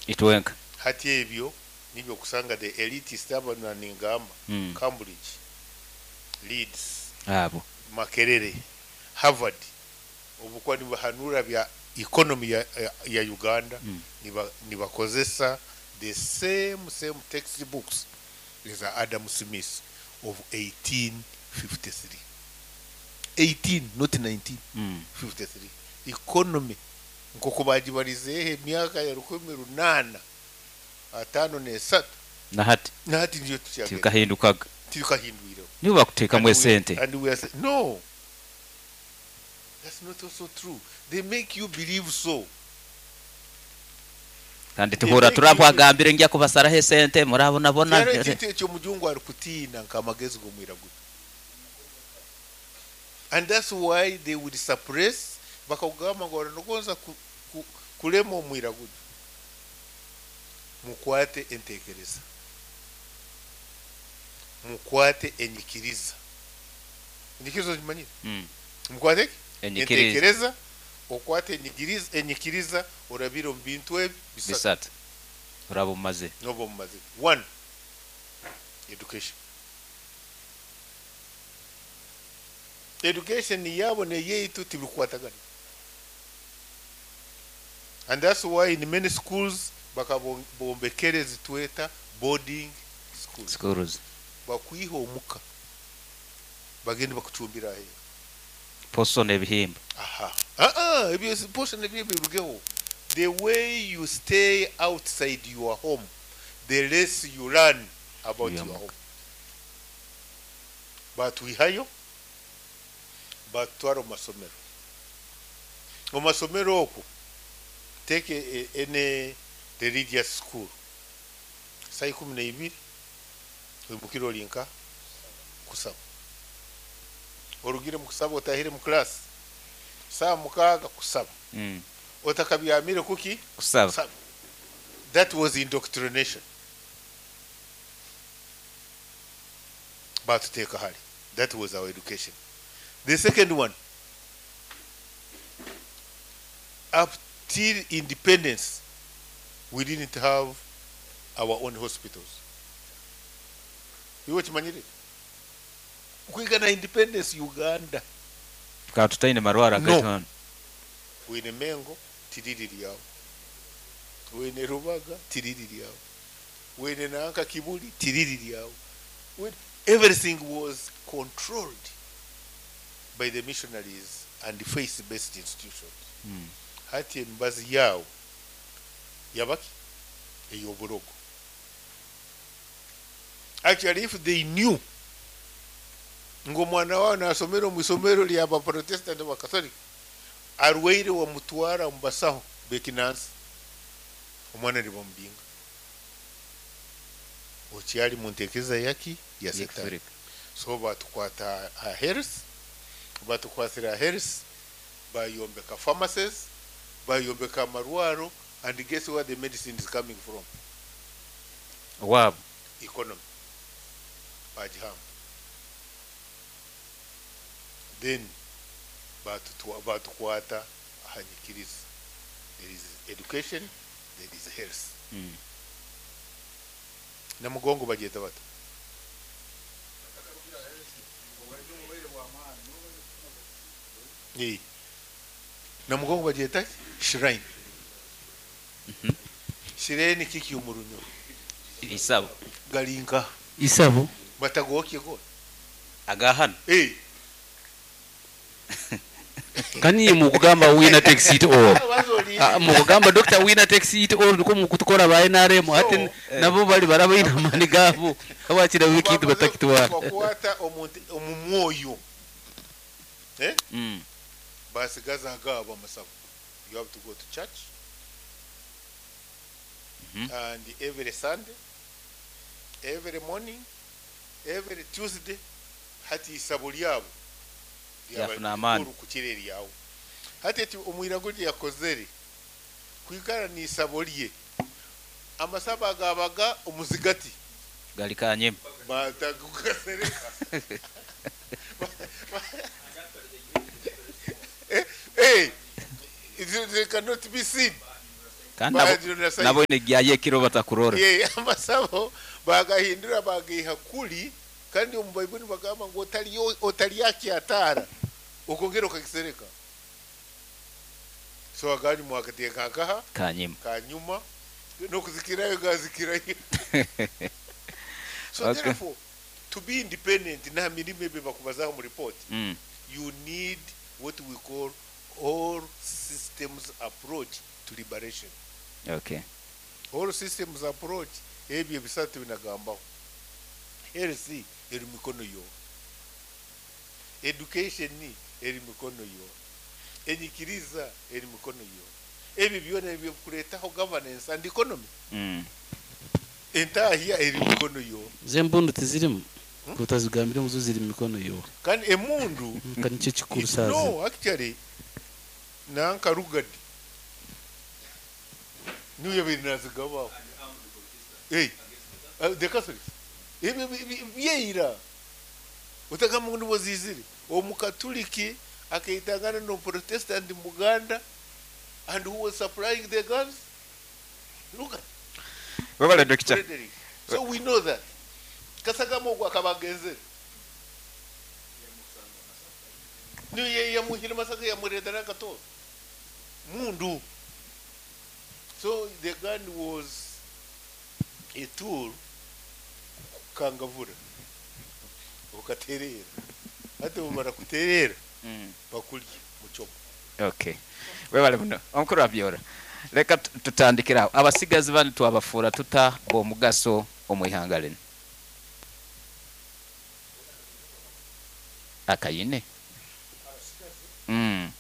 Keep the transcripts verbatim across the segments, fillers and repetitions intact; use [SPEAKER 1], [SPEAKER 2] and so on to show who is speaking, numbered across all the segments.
[SPEAKER 1] Itwenka.
[SPEAKER 2] Hati ebyo nibyo kusanga the elitist abo naningamba
[SPEAKER 1] Mm.
[SPEAKER 2] Cambridge, Leeds,
[SPEAKER 1] Abo.
[SPEAKER 2] Makerere, Harvard, obukuba nibahanura bya economy ya, ya, ya Uganda.
[SPEAKER 1] Mm.
[SPEAKER 2] niba nibakozesa the same same textbooks za Adam Smith of eighteen fifty-three. eighteen, not nineteen.
[SPEAKER 1] Mm.
[SPEAKER 2] fifty-three. Economy nk'oku bagibarizeeho emyaka ya rukumi runaana ataano n'esatu.
[SPEAKER 1] Na hati.
[SPEAKER 2] Na hati niyo tukyagenda.
[SPEAKER 1] Tibikahindukaga.
[SPEAKER 2] Tibikahindwireho.
[SPEAKER 1] Nibo bakuteekamu
[SPEAKER 2] And we-
[SPEAKER 1] esente.
[SPEAKER 2] and we are say, no, that's not also true. They make you believe so.
[SPEAKER 1] Kandi tuhura turabwagambire njya kubasaraho esente murabonabona.
[SPEAKER 2] Kyaro ekintu ekyo omujungu arikutiina nk'amagezi g'omwiraguju. And that's why they would suppress, bakakugamba ngu oranogonza ku, ku, kulema omwiraguju. Mukwate entekereza. Mukwate enyikiriza. Enyikiriza ozimanyire?
[SPEAKER 1] Mm.
[SPEAKER 2] Mukwate ki?
[SPEAKER 1] Enyikiriza.
[SPEAKER 2] Entekereza, okwate enyikiriza, enyikiriza orabire omu bintu ebi bisatu.
[SPEAKER 1] Bisatu. Oraba omumaze.
[SPEAKER 2] Noba omumaze. One, education. Education yabo neyeitu tibikukwatagana. And that's why in many schools bakabombekere zitweta boarding schools.
[SPEAKER 1] Schools.
[SPEAKER 2] Bakwiha omuka. Bagende bakucumbira aheeru.
[SPEAKER 1] Poso n'ebihimba.
[SPEAKER 2] Aha. Ah ah, ebyo si poso n'ebihimba birugeho. The way you stay outside your home, the less you learn about
[SPEAKER 1] Your
[SPEAKER 2] your home. Batwihayo, batutwara omu masomero. Omu masomero okwo, take a, a, any religious school. Saa ikumi na ibiri, oimukire ori nka kusaba. Orugire mu kusaba otahire mu class. Saa mukaaga kusaba.
[SPEAKER 1] Mm.
[SPEAKER 2] Otakabyamire kuki?
[SPEAKER 1] Kusaba.
[SPEAKER 2] Kusaba. That was indoctrination. Batuteeka hali. That was our education. The second one, up till independence, we didn't have our own hospitals. Iwe kimanyire? Kwigana independence Uganda.
[SPEAKER 1] Tukaba tutaine marwara
[SPEAKER 2] No.
[SPEAKER 1] gaitu hano.
[SPEAKER 2] Wine Mengo tiriri lyawo. Wine Rubaga tiriri lyawo. Wine Nanka Kibuli tiriri lyawo. Wine, everything was controlled by the missionaries and the faith-based institutions.
[SPEAKER 1] Mm.
[SPEAKER 2] Hati emibazi yawo yabaki ey'oburogo. Actually, if they knew ng'omwana wawe nasomera omu isomero lya baprotestant bakatolika arwaire wamutwara omu basaho bekinansi omwana nibamubinga okyali mu ntekereza yaki ya setani.
[SPEAKER 1] Yekifirika.
[SPEAKER 2] So batukwata aha health, batukwatira aha health, bayombeka pharmacies, bayombeka amarwaro, and guess where the medicine is coming from?
[SPEAKER 1] Owaabo.
[SPEAKER 2] Economy. Bagihamba. Then batutwa-, batukwata aha nyikiriza. There is education, there is health.
[SPEAKER 1] Mm.
[SPEAKER 2] Namugongo bagyeta bata? Eh. Namugongo bagyeta shrine.
[SPEAKER 1] Mm-hmm.
[SPEAKER 2] Shrine kiki omurunyo?
[SPEAKER 1] Isabo.
[SPEAKER 2] Galinka.
[SPEAKER 3] Isabo.
[SPEAKER 2] Batagokye go.
[SPEAKER 1] Agahano.
[SPEAKER 2] Eh.
[SPEAKER 3] Kani mukugamba winner takes it all. Ah, mukugamba doctor winner takes it all niko mukutukora ba N R M ate
[SPEAKER 2] So,
[SPEAKER 3] nabo bali barabaina amani gabo abakira wikintu batakitwara.
[SPEAKER 2] Bakwata omuntu omumwoyo. Eh?
[SPEAKER 1] Mm.
[SPEAKER 2] Basigaza agabo amasabo. You have to go to church.
[SPEAKER 1] Mm-hmm.
[SPEAKER 2] And every Sunday, every morning, every Tuesday, hati isabo lyabo
[SPEAKER 1] Yafuna amaani.
[SPEAKER 2] ku kireri yawo. Hati eti omwirago rye yakozere kwikara ni isabo lye amasabo agabaga omuzigati
[SPEAKER 1] gali kanyema
[SPEAKER 2] batagukasereka. Eh, eh, they cannot be seen.
[SPEAKER 1] Kandi nabo-
[SPEAKER 2] Bahindura size.
[SPEAKER 1] Nabo negyayo ekiro batakurora.
[SPEAKER 2] Ye, amasabo bagahindura, bagaiha kuli. Kandi omu Baibuli bagamba ngu otaliyo- otalyakyataara okongera okakisereka. So aganyu mwakateeka nkaha?
[SPEAKER 1] Kanyima.
[SPEAKER 2] Kanyuma nokuzikirayo gazikirayo. So
[SPEAKER 1] Okay.
[SPEAKER 2] therefore, to be independent na mirimo ebyo bakubazaho mu report,
[SPEAKER 1] Mm.
[SPEAKER 2] you need what we call all systems approach to liberation.
[SPEAKER 1] Okay.
[SPEAKER 2] All systems approach, ebyo ebisatu binagambaho: health eri mikono yo, education eri mikono yo, enyikiriza eri mikono yo. Ebyo byona ebyokureetaho governance and economy.
[SPEAKER 1] Mm.
[SPEAKER 2] Entahya eri mikono yo.
[SPEAKER 3] Zembundu tizirimu, kutazigambire muzo ziri mu mikono yo.
[SPEAKER 2] Kandi emundu
[SPEAKER 3] Nka nicyo kikuru saazi.
[SPEAKER 2] No, actually, nanka Lugard niyo yabiri nazigabaho. Hey, uh, the Catholics ebyo bi- bi- byeira utagamba ngu nibo zizire. Omukatuliki akaitangana n'omuprotestant muganda, and who was supplying the guns? Lugard.
[SPEAKER 1] Webale, Dokita.
[SPEAKER 2] Frederick. So we know that Kasagama ogwo akaba agenzere, niyo yamuhire Masaka, yamureetera n'akatooro mundu. So the gun was a tool kukangavura ukaterera. Ate bumara kuterera,
[SPEAKER 1] Mm.
[SPEAKER 2] bakulya muchomo.
[SPEAKER 1] Okay, webale muno, omukuru Abyora. Leka tu- tutandikire aho. Abasigazi bano twabafuura tuta b'omugaso omu ihanga lino? Akayine mm.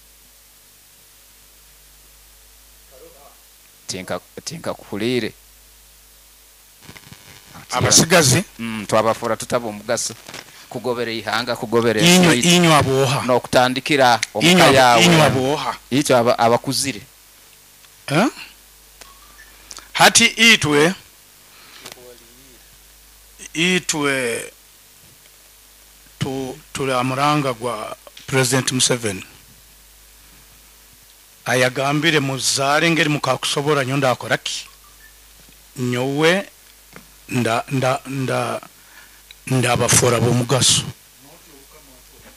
[SPEAKER 1] tinka tinkakuhuliire.
[SPEAKER 4] Abasigazi?
[SPEAKER 1] mm, twabafuura tuta b'omugaso kugobera ihanga, kugobera
[SPEAKER 4] inywe
[SPEAKER 1] ensi?
[SPEAKER 4] Inywe aboha?
[SPEAKER 1] N'okutandikira omuka
[SPEAKER 4] inywe
[SPEAKER 1] yawe.
[SPEAKER 4] Inywe aboha?
[SPEAKER 1] Ikyo aba- abakuzire.
[SPEAKER 4] Eh? Hati itwe itwe tu, tuli amuranga gwa President Museveni ayagambire muzaare ngeri mukakusobora, nyo ndakoraki, nyowe nda nda nda ndabafora b'omugaso.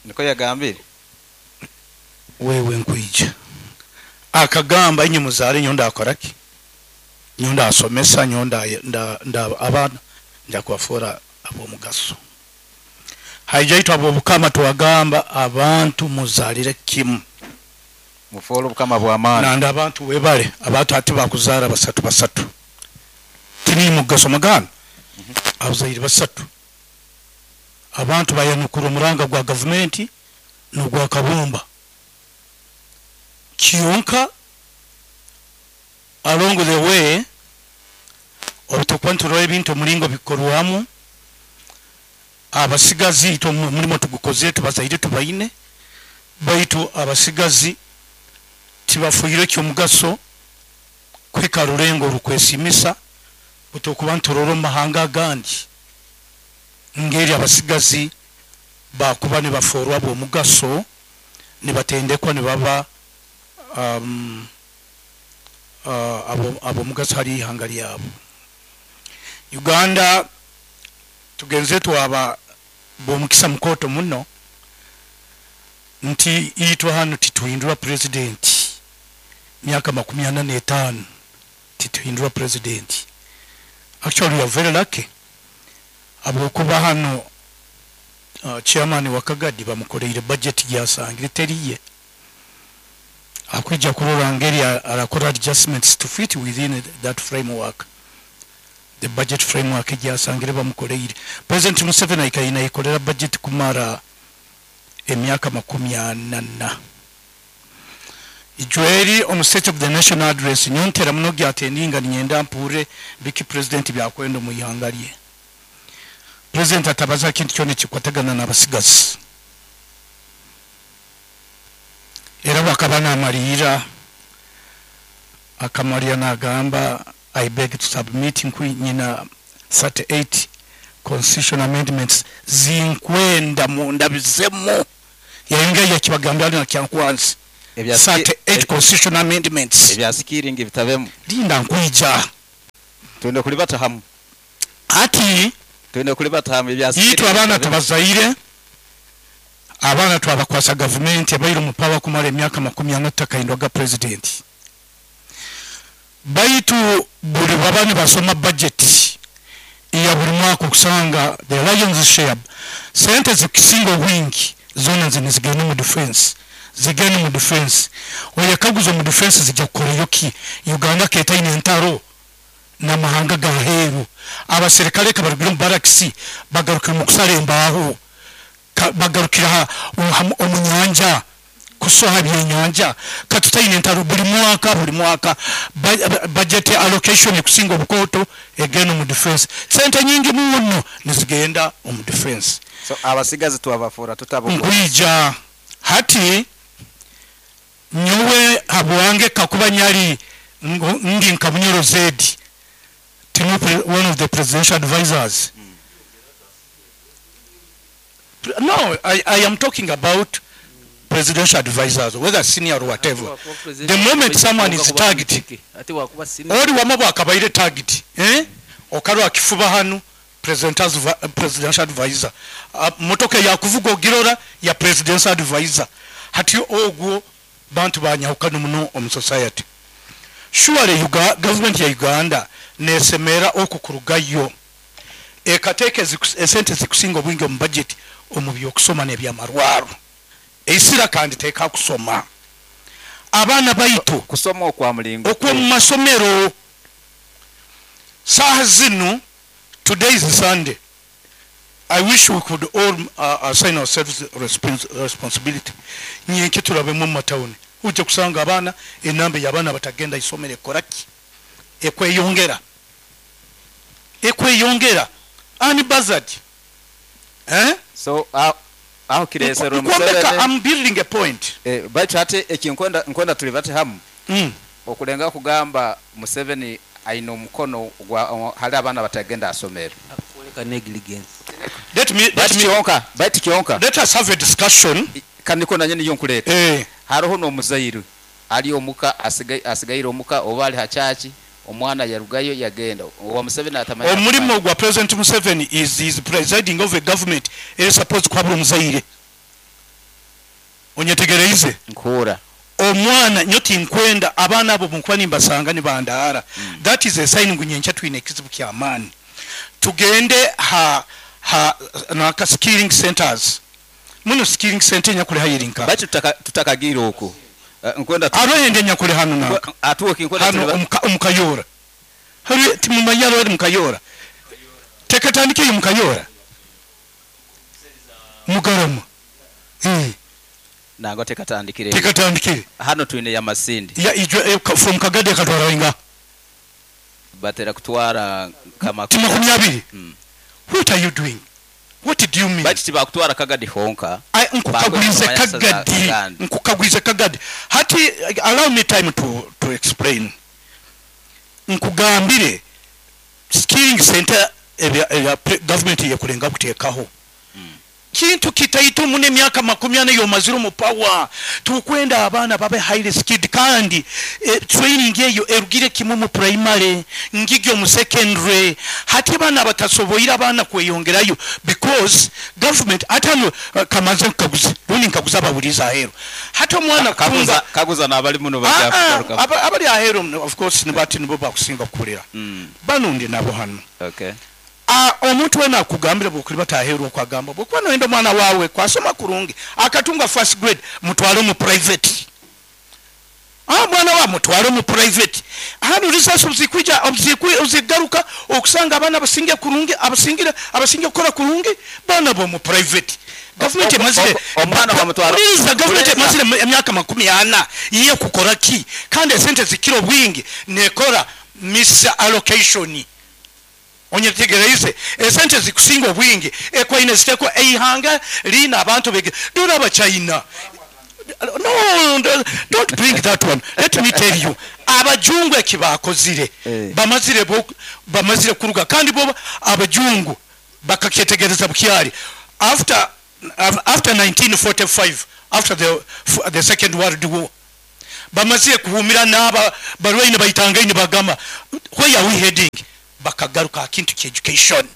[SPEAKER 1] Niko yagambire?
[SPEAKER 4] Wewe nkwija akagamba, inye muzaare, nyo ndakoraki, nyo ndasomesa, nyo nda, nda, nda abaana nja kubafora ab'omugaso. Haija itwe ab'obukama twagamba abantu muzalire kimu.
[SPEAKER 1] Mufuule obukama bw'amaani.
[SPEAKER 4] Nanda abantu webale, abantu ati bakuzaara basatu basatu tini mugaso muganda, abazaire basatu. Abantu bayanukura omuranga gwa gavumenti n'ogwa Kabumba kyonka. Along the way, obutukuba niturora ebintu omuringo bikorwamu, abasigazi itwe omurimo tugukozire, tubazaire tubaine, baitu abasigazi tibafuire ekyomugaso kwika rurengo rukwesimisa. Butukuba niturora omu mahanga agandi ngeri abasigazi bakuba nibaforwa b'omugaso, nibatendekwa, nibaba um, uh, abo- ab'omugaso hari ihanga lyabo Uganda. Tugenze twaba b'omukisa mukoto muno nti itwe hano tituhindura president myaka makumi ana n'etaano, tituhindura president. Actually, we are very lucky habwokuba hano uh, chairman wa Kagadi bamukoreire budget gyasangire teriye, akwija kurora ngeri a- arakora adjustments to fit within that framework, the budget framework gyasangire bamukoreire. President Museveni aikaine ayikorera budget kumara emyaka makumi ana na ijweri. Omu State of the National Address nyontera muno gyatendinga, ninyenda mpure biki president byakwenda omu ihanga lye. President atabaza kintu kyona ekikwatagana n'abasigazi. Era bakaba namalira, akamalira nagamba, "I beg to submit nkwi nyina thirty-eight constitutional amendments zinkwenda mundabizemu." Yayongera yakibagambira na Kyankwanzi.
[SPEAKER 1] Ebya
[SPEAKER 4] thirty-eight constitutional amendments.
[SPEAKER 1] Ebya skilling bitabemu.
[SPEAKER 4] Linda nkwija.
[SPEAKER 1] Twende kulibata hamu.
[SPEAKER 4] Ati
[SPEAKER 1] twende kulibata hamu ebya skilling.
[SPEAKER 4] Yitu abaana tubazaire, abaana twabakwasa gavumenti abaire mu power kumara emyaka makumi ana tutakaindwaga president. Baitu buli baba nibasoma budget ya buli mwaka okusanga the lion's share sente zikusinga obwingi zona zino zigenda mu defense, zigenda mu defense. Oyekaguza mu defense zijja kukorayo ki? Uganda ketaine entaro n'amahanga gaheru, abaserikale kabarugire mu barracks bagarukira mu kusala embaho, bagarukira omu nyanja kusoha byenyanja. Katutaine entaro buli mwaka, buli mwaka budget allocation kusinga obukoto egenda mu defense, sente nyingi muno nizigenda omu defense.
[SPEAKER 1] So abasigazi twabafura tutabo
[SPEAKER 4] nkwija hati nyowe habwange kakuba nyali ngi nka Bunyoro Zedi tinu one of the presidential advisors. Mm. No, I, I am talking about presidential advisors, whether senior or whatever. The moment someone is targeted, ori wamabo akabaire target, eh? Okaro akifuba hanu presidential advisor. Uh, motoka ya kuvuga ogirora ya presidential advisor. Hati ogwo bantu banyahukana muno omu society. Surely Uga, government ya Uganda nesemera okukurugayo ekateeka esente zikusinga obwingi omu budget omu byokusoma n'ebyamarwaro. Esira kandi teeka kusoma abaana baitu
[SPEAKER 1] kusoma okwa mulingo
[SPEAKER 4] okwo mu masomero. Saha zinu, today is Sunday, I wish we could all uh, assign ourselves respons responsibility. Nyenke turabe mu matawuni uje kusanga abaana enamba y'abaana batagenda isomero ekoraki ekweyongera ekweyongera ani buzzard eh
[SPEAKER 1] so uh, aho kiresero Museveni.
[SPEAKER 4] I'm building a point.
[SPEAKER 1] Eh, baitu ate ekinkwenda nkwenda tulibate hamu.
[SPEAKER 4] Mm.
[SPEAKER 1] Okulenga kugamba Museveni aino omukono gwa hali abaana batagenda asomero.
[SPEAKER 3] Akoleka negligence.
[SPEAKER 4] Let me let me
[SPEAKER 1] kyonka, baitu kyonka.
[SPEAKER 4] Let us have a discussion.
[SPEAKER 1] Kaniko nanye niyo nkuleta.
[SPEAKER 4] Eh.
[SPEAKER 1] Haroho no muzairu ali omuka asigai asigaire omuka oba ali hachachi omwana yarugayo yagenda owa Museveni atamanya.
[SPEAKER 4] Omulimo gwa President Museveni is is presiding over government is supposed kuhabura omuzaire. Onyetegereize
[SPEAKER 1] nkura
[SPEAKER 4] omwana nyoti nkwenda abaana abo mukwani mbasanga ni bandara.
[SPEAKER 1] Mm.
[SPEAKER 4] That is a sign ngunyencha twine ekizibu kya maani. Tugende ha ha naka skilling centers muno skilling center nyakule hayirinka
[SPEAKER 1] baitu tutakagira oko uh, nkwenda
[SPEAKER 4] arohende nyakule hano naka
[SPEAKER 1] atuwe kinkwenda
[SPEAKER 4] hano omukayora hari timumanyaro ari mukayora tekatandike mukayora mugarama eh
[SPEAKER 1] nango tekatandikire
[SPEAKER 4] tekatandikire
[SPEAKER 1] hano twine ya Masindi
[SPEAKER 4] ya ijwe eh, from Kagade katwara inga
[SPEAKER 1] batera kutwara kama
[SPEAKER 4] makumi abiri.
[SPEAKER 1] Mm.
[SPEAKER 4] What are you doing? What do you mean?
[SPEAKER 1] Bati tibakutwara Kagadi honka.
[SPEAKER 4] Nkukagwize Kagadi. Nkukagwize Kagadi. Hati allow me time to to explain. Nkugambire skilling center ebya government yakulenga kuteekaho.
[SPEAKER 1] Mm.
[SPEAKER 4] Kintu kitaito mune myaka makumi ana yomaziro mu power tukwenda abaana babe highly skilled kandi e, training eyo erugire kimwe mu primary ngigyo mu secondary hati abaana batasoboira abaana kweyongerayo because government atano uh, kamaze nkaguza rundi nkaguza ababuliza ahero hati omwana
[SPEAKER 1] kaguza kaguza nabali muno bajakugaruka
[SPEAKER 4] abali ahero of course nibati nibo bakusinga kukulira
[SPEAKER 1] mm.
[SPEAKER 4] banundi nabo hano
[SPEAKER 1] okay.
[SPEAKER 4] Omuntu wena akugambira bwokuli bataheerwa okwagamba bwokuba noyenda omwana waawe kwasoma kurungi akatunga first grade mutwale mu private. Ah, mwana wa mutwale mu private hano risasi obuzikwija obuzigaruka okusanga abaana abasinge kurungi abasingira abasinge kukora kurungi baana bo mu private. Government emazire
[SPEAKER 1] omwana bamutwara
[SPEAKER 4] government emazire emyaka makumi ana iye kukora ki kandi esente zikiro bwingi nekora misallocation. Onyetegereize esente zikusinga obwingi ekwaine ziteko eihanga lina abantu bege dora abachina. No, don't bring that one. Let me tell you, abajungu ekibakozire
[SPEAKER 1] eh.
[SPEAKER 4] bamazire bo bamazire kuruga kandi bo abajungu bakakyetegereza bukyali after after nineteen forty-five, after the the second world war. Bamazire kuhumira n'aba barwaine baitangaine bagamba, "Where are we heading?" Bakagaruka kintu kya education.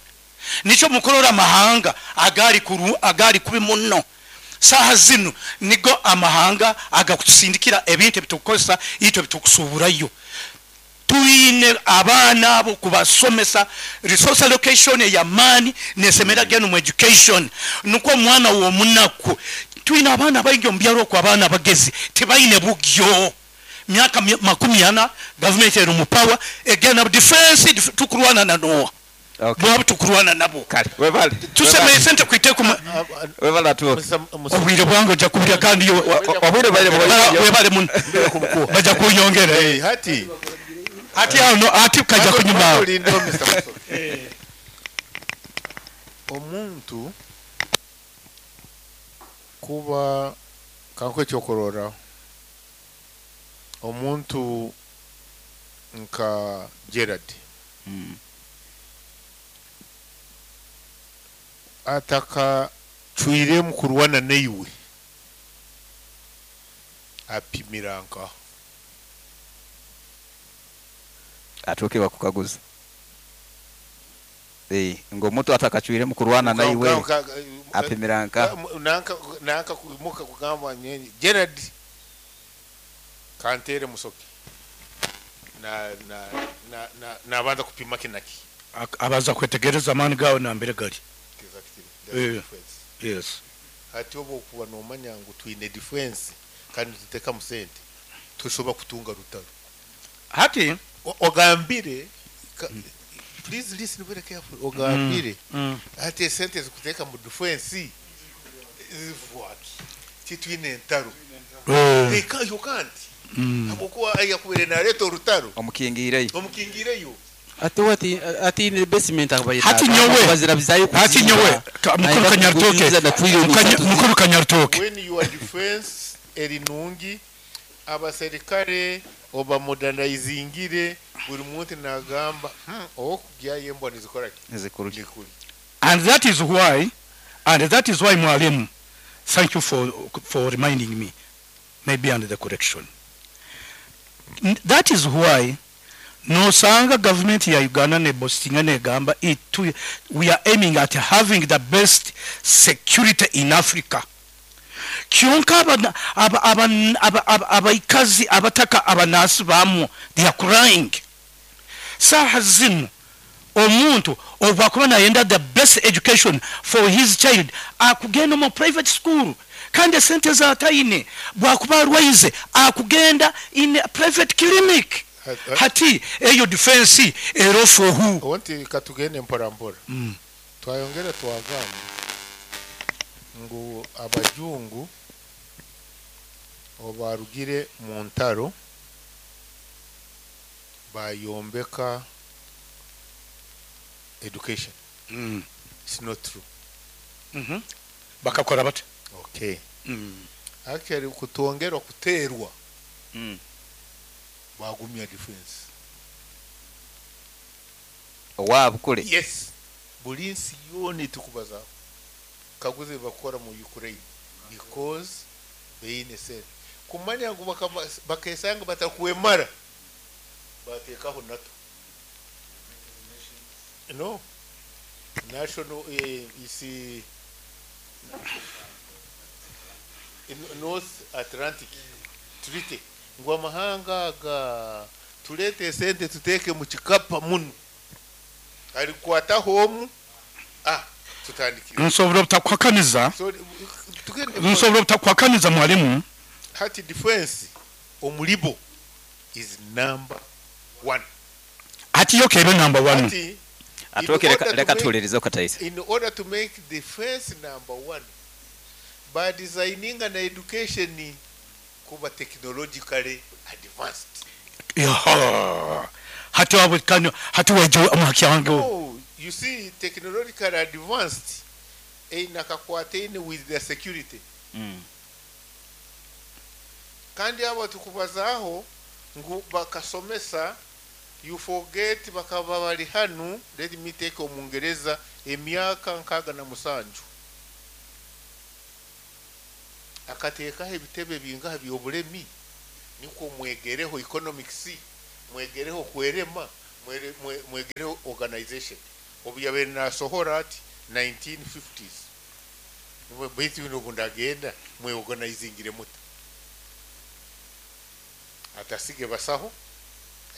[SPEAKER 4] Nikyo mukurora amahanga agari kuru, agari kubi muno saha zinu, nigo amahanga agakutusindikira ebintu ebitukukozesa itwe bitukusuburayo. Tuine abaana abo kubasomesa. Resource allocation ey'amaani nesemera genu mu education, nukwo omwana w'omunaku. Twine abaana baingi omu byaro okwo, abaana bagezi tibaine bugyo. Myaka mi- makumi ana gavumenti eri mu power, egenda defense, def- tukurwana na noa?
[SPEAKER 1] Okay.
[SPEAKER 4] Bwaba tukurwana nabo.
[SPEAKER 1] Kale, webale.
[SPEAKER 4] Tusemeye sente kwiteku.
[SPEAKER 1] Webale atuoke.
[SPEAKER 4] Obwire bwange ojja kubulya kandi yo-
[SPEAKER 1] Obwire bwaire.
[SPEAKER 4] Bara- webale muno, bajja kunyongera.
[SPEAKER 2] Hey, hati
[SPEAKER 4] Ati awo no, ati kajja kunyuma awo.
[SPEAKER 2] Olindeho, Mister Musoke. Omuntu kuba kankuhe ekyokurorraho, omuntu nka Gerard
[SPEAKER 1] Mm.
[SPEAKER 2] atakacwiremu kurwana naiwe, apimira nkaho.
[SPEAKER 1] Atuuke bakukaguza. Eh, ng'omuntu atakacwire mu kurwana naiwe apimira nka
[SPEAKER 2] nanka nanka muka kugamba nyenye Gerard kantere Musoke na na na na nabanza kupima kinaki.
[SPEAKER 4] Ak- abaza kwetegereza amaani gawe nambere gari.
[SPEAKER 2] Exactly. That's
[SPEAKER 4] Eh.
[SPEAKER 2] defense.
[SPEAKER 4] Yes.
[SPEAKER 2] Hati oba okuba nomanya ngu twine defense kandi tutekamu sente, tusobola kutunga rutaro.
[SPEAKER 4] Hati
[SPEAKER 2] O- ogambire ka- please listen very carefully, ogambire
[SPEAKER 4] mm.
[SPEAKER 2] ati esente zikuteeka mu defense zivwaki, titwine entaro?
[SPEAKER 4] Eh,
[SPEAKER 2] They can't, you can't,
[SPEAKER 4] mm.
[SPEAKER 2] habwokuba yakubere naleeta orutaro.
[SPEAKER 1] Omukingiireyo.
[SPEAKER 2] Omukingireyo.
[SPEAKER 3] Ate wati ati ne basement akabaye.
[SPEAKER 4] Hati nyowe.
[SPEAKER 3] Bazirabizayo.
[SPEAKER 4] Hati nyowe ka- mukuru Kanyarutoke, Mukanya- mukuru Kanyarutoke,
[SPEAKER 2] When your defense eri nungi, abaserikale obamodernizingire, buri muntu nagamba, hmm, okugyayo embwa nizikora ki?
[SPEAKER 1] Nizikuru.
[SPEAKER 2] Nikuri.
[SPEAKER 4] And that is why and that is why, mwalimu, thank you for for reminding me, maybe under the correction. N- that is why nosanga government ya Uganda neboastinga, negamba itu, "We are aiming at having the best security in Africa." Kyonka aba- aba- aba- aba- aba- abaikazi abataka abanasi bamwo, they are crying. Saha zino omuntu obwakuba nayenda the best education for his child, akugenda mu private school, kandi esente zatayine. Bwakuba arwaize, akugenda in a private clinic. Hati eyo defense ero for who?
[SPEAKER 2] Owanti katugende mpora mpora.
[SPEAKER 4] Mm.
[SPEAKER 2] Twayongera twagamba ngu abajungu obarugire mu ntaro bayombeka education.
[SPEAKER 4] Mm.
[SPEAKER 2] It's not true.
[SPEAKER 4] mm -hmm. Bakakora bate?
[SPEAKER 2] Okay.
[SPEAKER 4] Mm.
[SPEAKER 2] Actually, kutwongerwa kuterwa,
[SPEAKER 1] Mm.
[SPEAKER 2] bagumya defense.
[SPEAKER 1] Owaabwe kule.
[SPEAKER 2] Yes, buli nsi yoona etukubazaako, kaguze bakora mu Ukraine, because beine sente kumanya ngu bakaba- bakesanga batakwemara, bateekaho NATO, no national, eh, isi in- North Atlantic Treaty, ngu amahanga aga tuleete esente tuteeke mu kikapa muno, alikwataho omu, ah, tutandikire.
[SPEAKER 4] Nsobola obutakuhakaniza.
[SPEAKER 2] So tugende.
[SPEAKER 4] Nsobola obutakuhakaniza, mwalimu.
[SPEAKER 2] Hati defense omulibo is number one.
[SPEAKER 4] Hati yo kebe number one.
[SPEAKER 2] Hati
[SPEAKER 1] Atuoke,
[SPEAKER 2] in
[SPEAKER 1] leka
[SPEAKER 2] order to
[SPEAKER 1] leka
[SPEAKER 2] make-
[SPEAKER 1] tuwulirize okataisa.
[SPEAKER 2] in order to make defense number one, by designing an education kuba technologically advanced.
[SPEAKER 4] Yaha. Hati wabwe kano, hati weje omuhaki wange.
[SPEAKER 2] No, you see, technologically advanced einakakwataine with their security.
[SPEAKER 1] Mm.
[SPEAKER 2] Kandi abo tukubazaaho ngu bakasomesa, you forget bakaba bali hanu. Let me take omungereza emyaka nkaaga na musanju akateekaho ebitebe bingaha by'obulemi. Nikwo mwegereho economics, mwegereho kwerema, mwere- mwe- mwegereho organization. Obu yabaire nasohora ati nineteen fifties, baitu bino obu ndagenda mweorganizingire muta? Atasige basaho.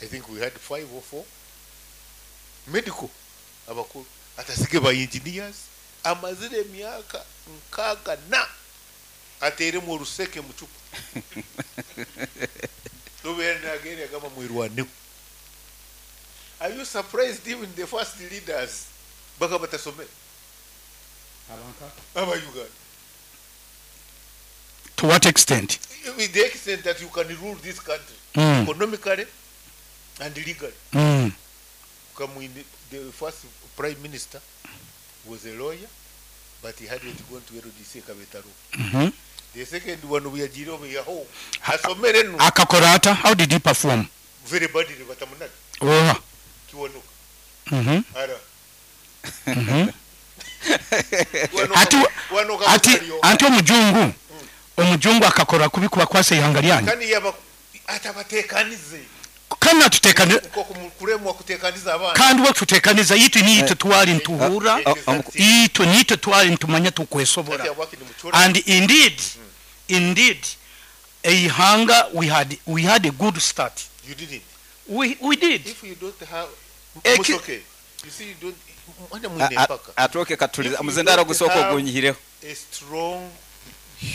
[SPEAKER 2] I think we had five or four medical abakuru, atasige ba engineers. Amazire emyaka nkaaga na ateremu oruseke mu cupa. Lubeera nagenda yagamba mwirwaneho. Are you surprised even the first leaders bakaba batasomere aba Uganda?
[SPEAKER 4] To what extent?
[SPEAKER 2] With the extent that you can rule this country
[SPEAKER 4] Mm.
[SPEAKER 2] economically and legally.
[SPEAKER 4] Mm.
[SPEAKER 2] Kamwine, the first prime minister was a lawyer, but he hadn't gone to L D C Kabetaro.
[SPEAKER 4] Mhm.
[SPEAKER 2] The second one bwe yaho asomere no.
[SPEAKER 4] Akakora ata? How did he perform?
[SPEAKER 2] Very badly, batamunaga.
[SPEAKER 4] Oha?
[SPEAKER 2] Kiwanuka.
[SPEAKER 4] Mhm.
[SPEAKER 2] Ara.
[SPEAKER 4] Mhm.
[SPEAKER 2] Kiwanuka-
[SPEAKER 4] Ati
[SPEAKER 2] Kiwanuka
[SPEAKER 4] ati
[SPEAKER 2] Butaliyo.
[SPEAKER 4] anti omujungu omujungu akakora kubi kubakwasa ihanga lyanyu.
[SPEAKER 2] Kandi yaba atabatekanize.
[SPEAKER 4] Kandi natutekane.
[SPEAKER 2] Uko kulemwa kutekaniza abaana.
[SPEAKER 4] Kandi we tutekaniza itwe niitwe twali ntuhura.
[SPEAKER 2] Exactly.
[SPEAKER 4] Itwe niitwe twali ntumanya tukwesobora.
[SPEAKER 2] Kati abwaki ni muchora.
[SPEAKER 4] And indeed indeed eihanga we had we had a good start.
[SPEAKER 2] You didn't.
[SPEAKER 4] we, we did.
[SPEAKER 2] If you don't have
[SPEAKER 4] Eki-
[SPEAKER 2] Musoke, you see, you don't mwana mwine mpaka
[SPEAKER 1] Atoke katuliza.
[SPEAKER 2] If you
[SPEAKER 1] Muzendaro
[SPEAKER 2] don't
[SPEAKER 1] gusooka
[SPEAKER 2] have
[SPEAKER 1] ogunyihireho.
[SPEAKER 2] a strong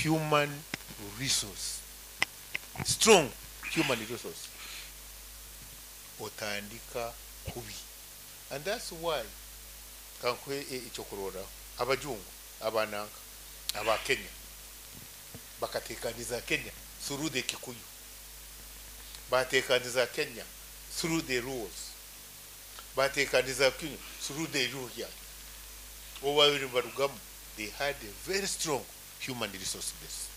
[SPEAKER 2] human resource, strong human resource, otandika kubi. And that's why kankuhe ekyokurorraho, abajungu abananka aba Kenya bakatekaniza Kenya through the Kikuyu, batekaniza Kenya through the rules, batekaniza Kenya through the Luhya. Bo babiri barugamu, they had a very strong human resource base.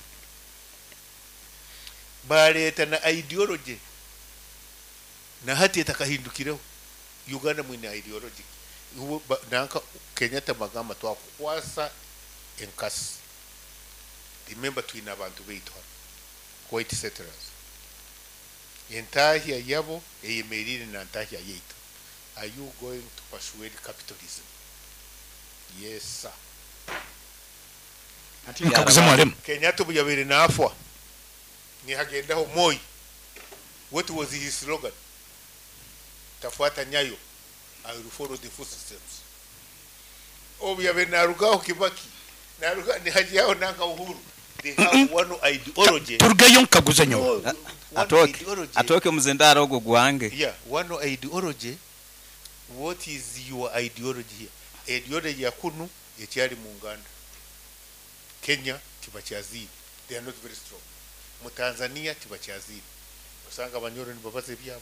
[SPEAKER 2] Baleeta na ideology na hati etakahindukireho. Uganda mwine ideology. Ubu ba- nanka Kenyatta bagamba twakukwasa enkasi. Remember, twine abantu baitu hano white settlers, entahya yabo eyemerire na ntahya yaitu. Are you going to persuade capitalism? Yes, sir.
[SPEAKER 4] Nkaguze mwalimu.
[SPEAKER 2] Kenyatta obu yabaire naafwa nihagendaho Moi. What was his slogan? Tafuata nyayo, I will follow the footsteps. Obu yabaire narugaho Kibaki naruga nihajaho nanka Uhuru. They have one ideology.
[SPEAKER 4] Turugeyo nkaguze nyowe.
[SPEAKER 2] No, one
[SPEAKER 1] Atoke
[SPEAKER 2] ideology.
[SPEAKER 1] Atoke muzendaro ogwo gwange.
[SPEAKER 2] Yeah, one ideology. What is your ideology here? Ideology ya kunu ekyali mu Uganda, Kenya tibakyaziire, they are not very strong. Mu Tanzania tibakyaziire, osanga Abanyoro nibabaza ebyabo,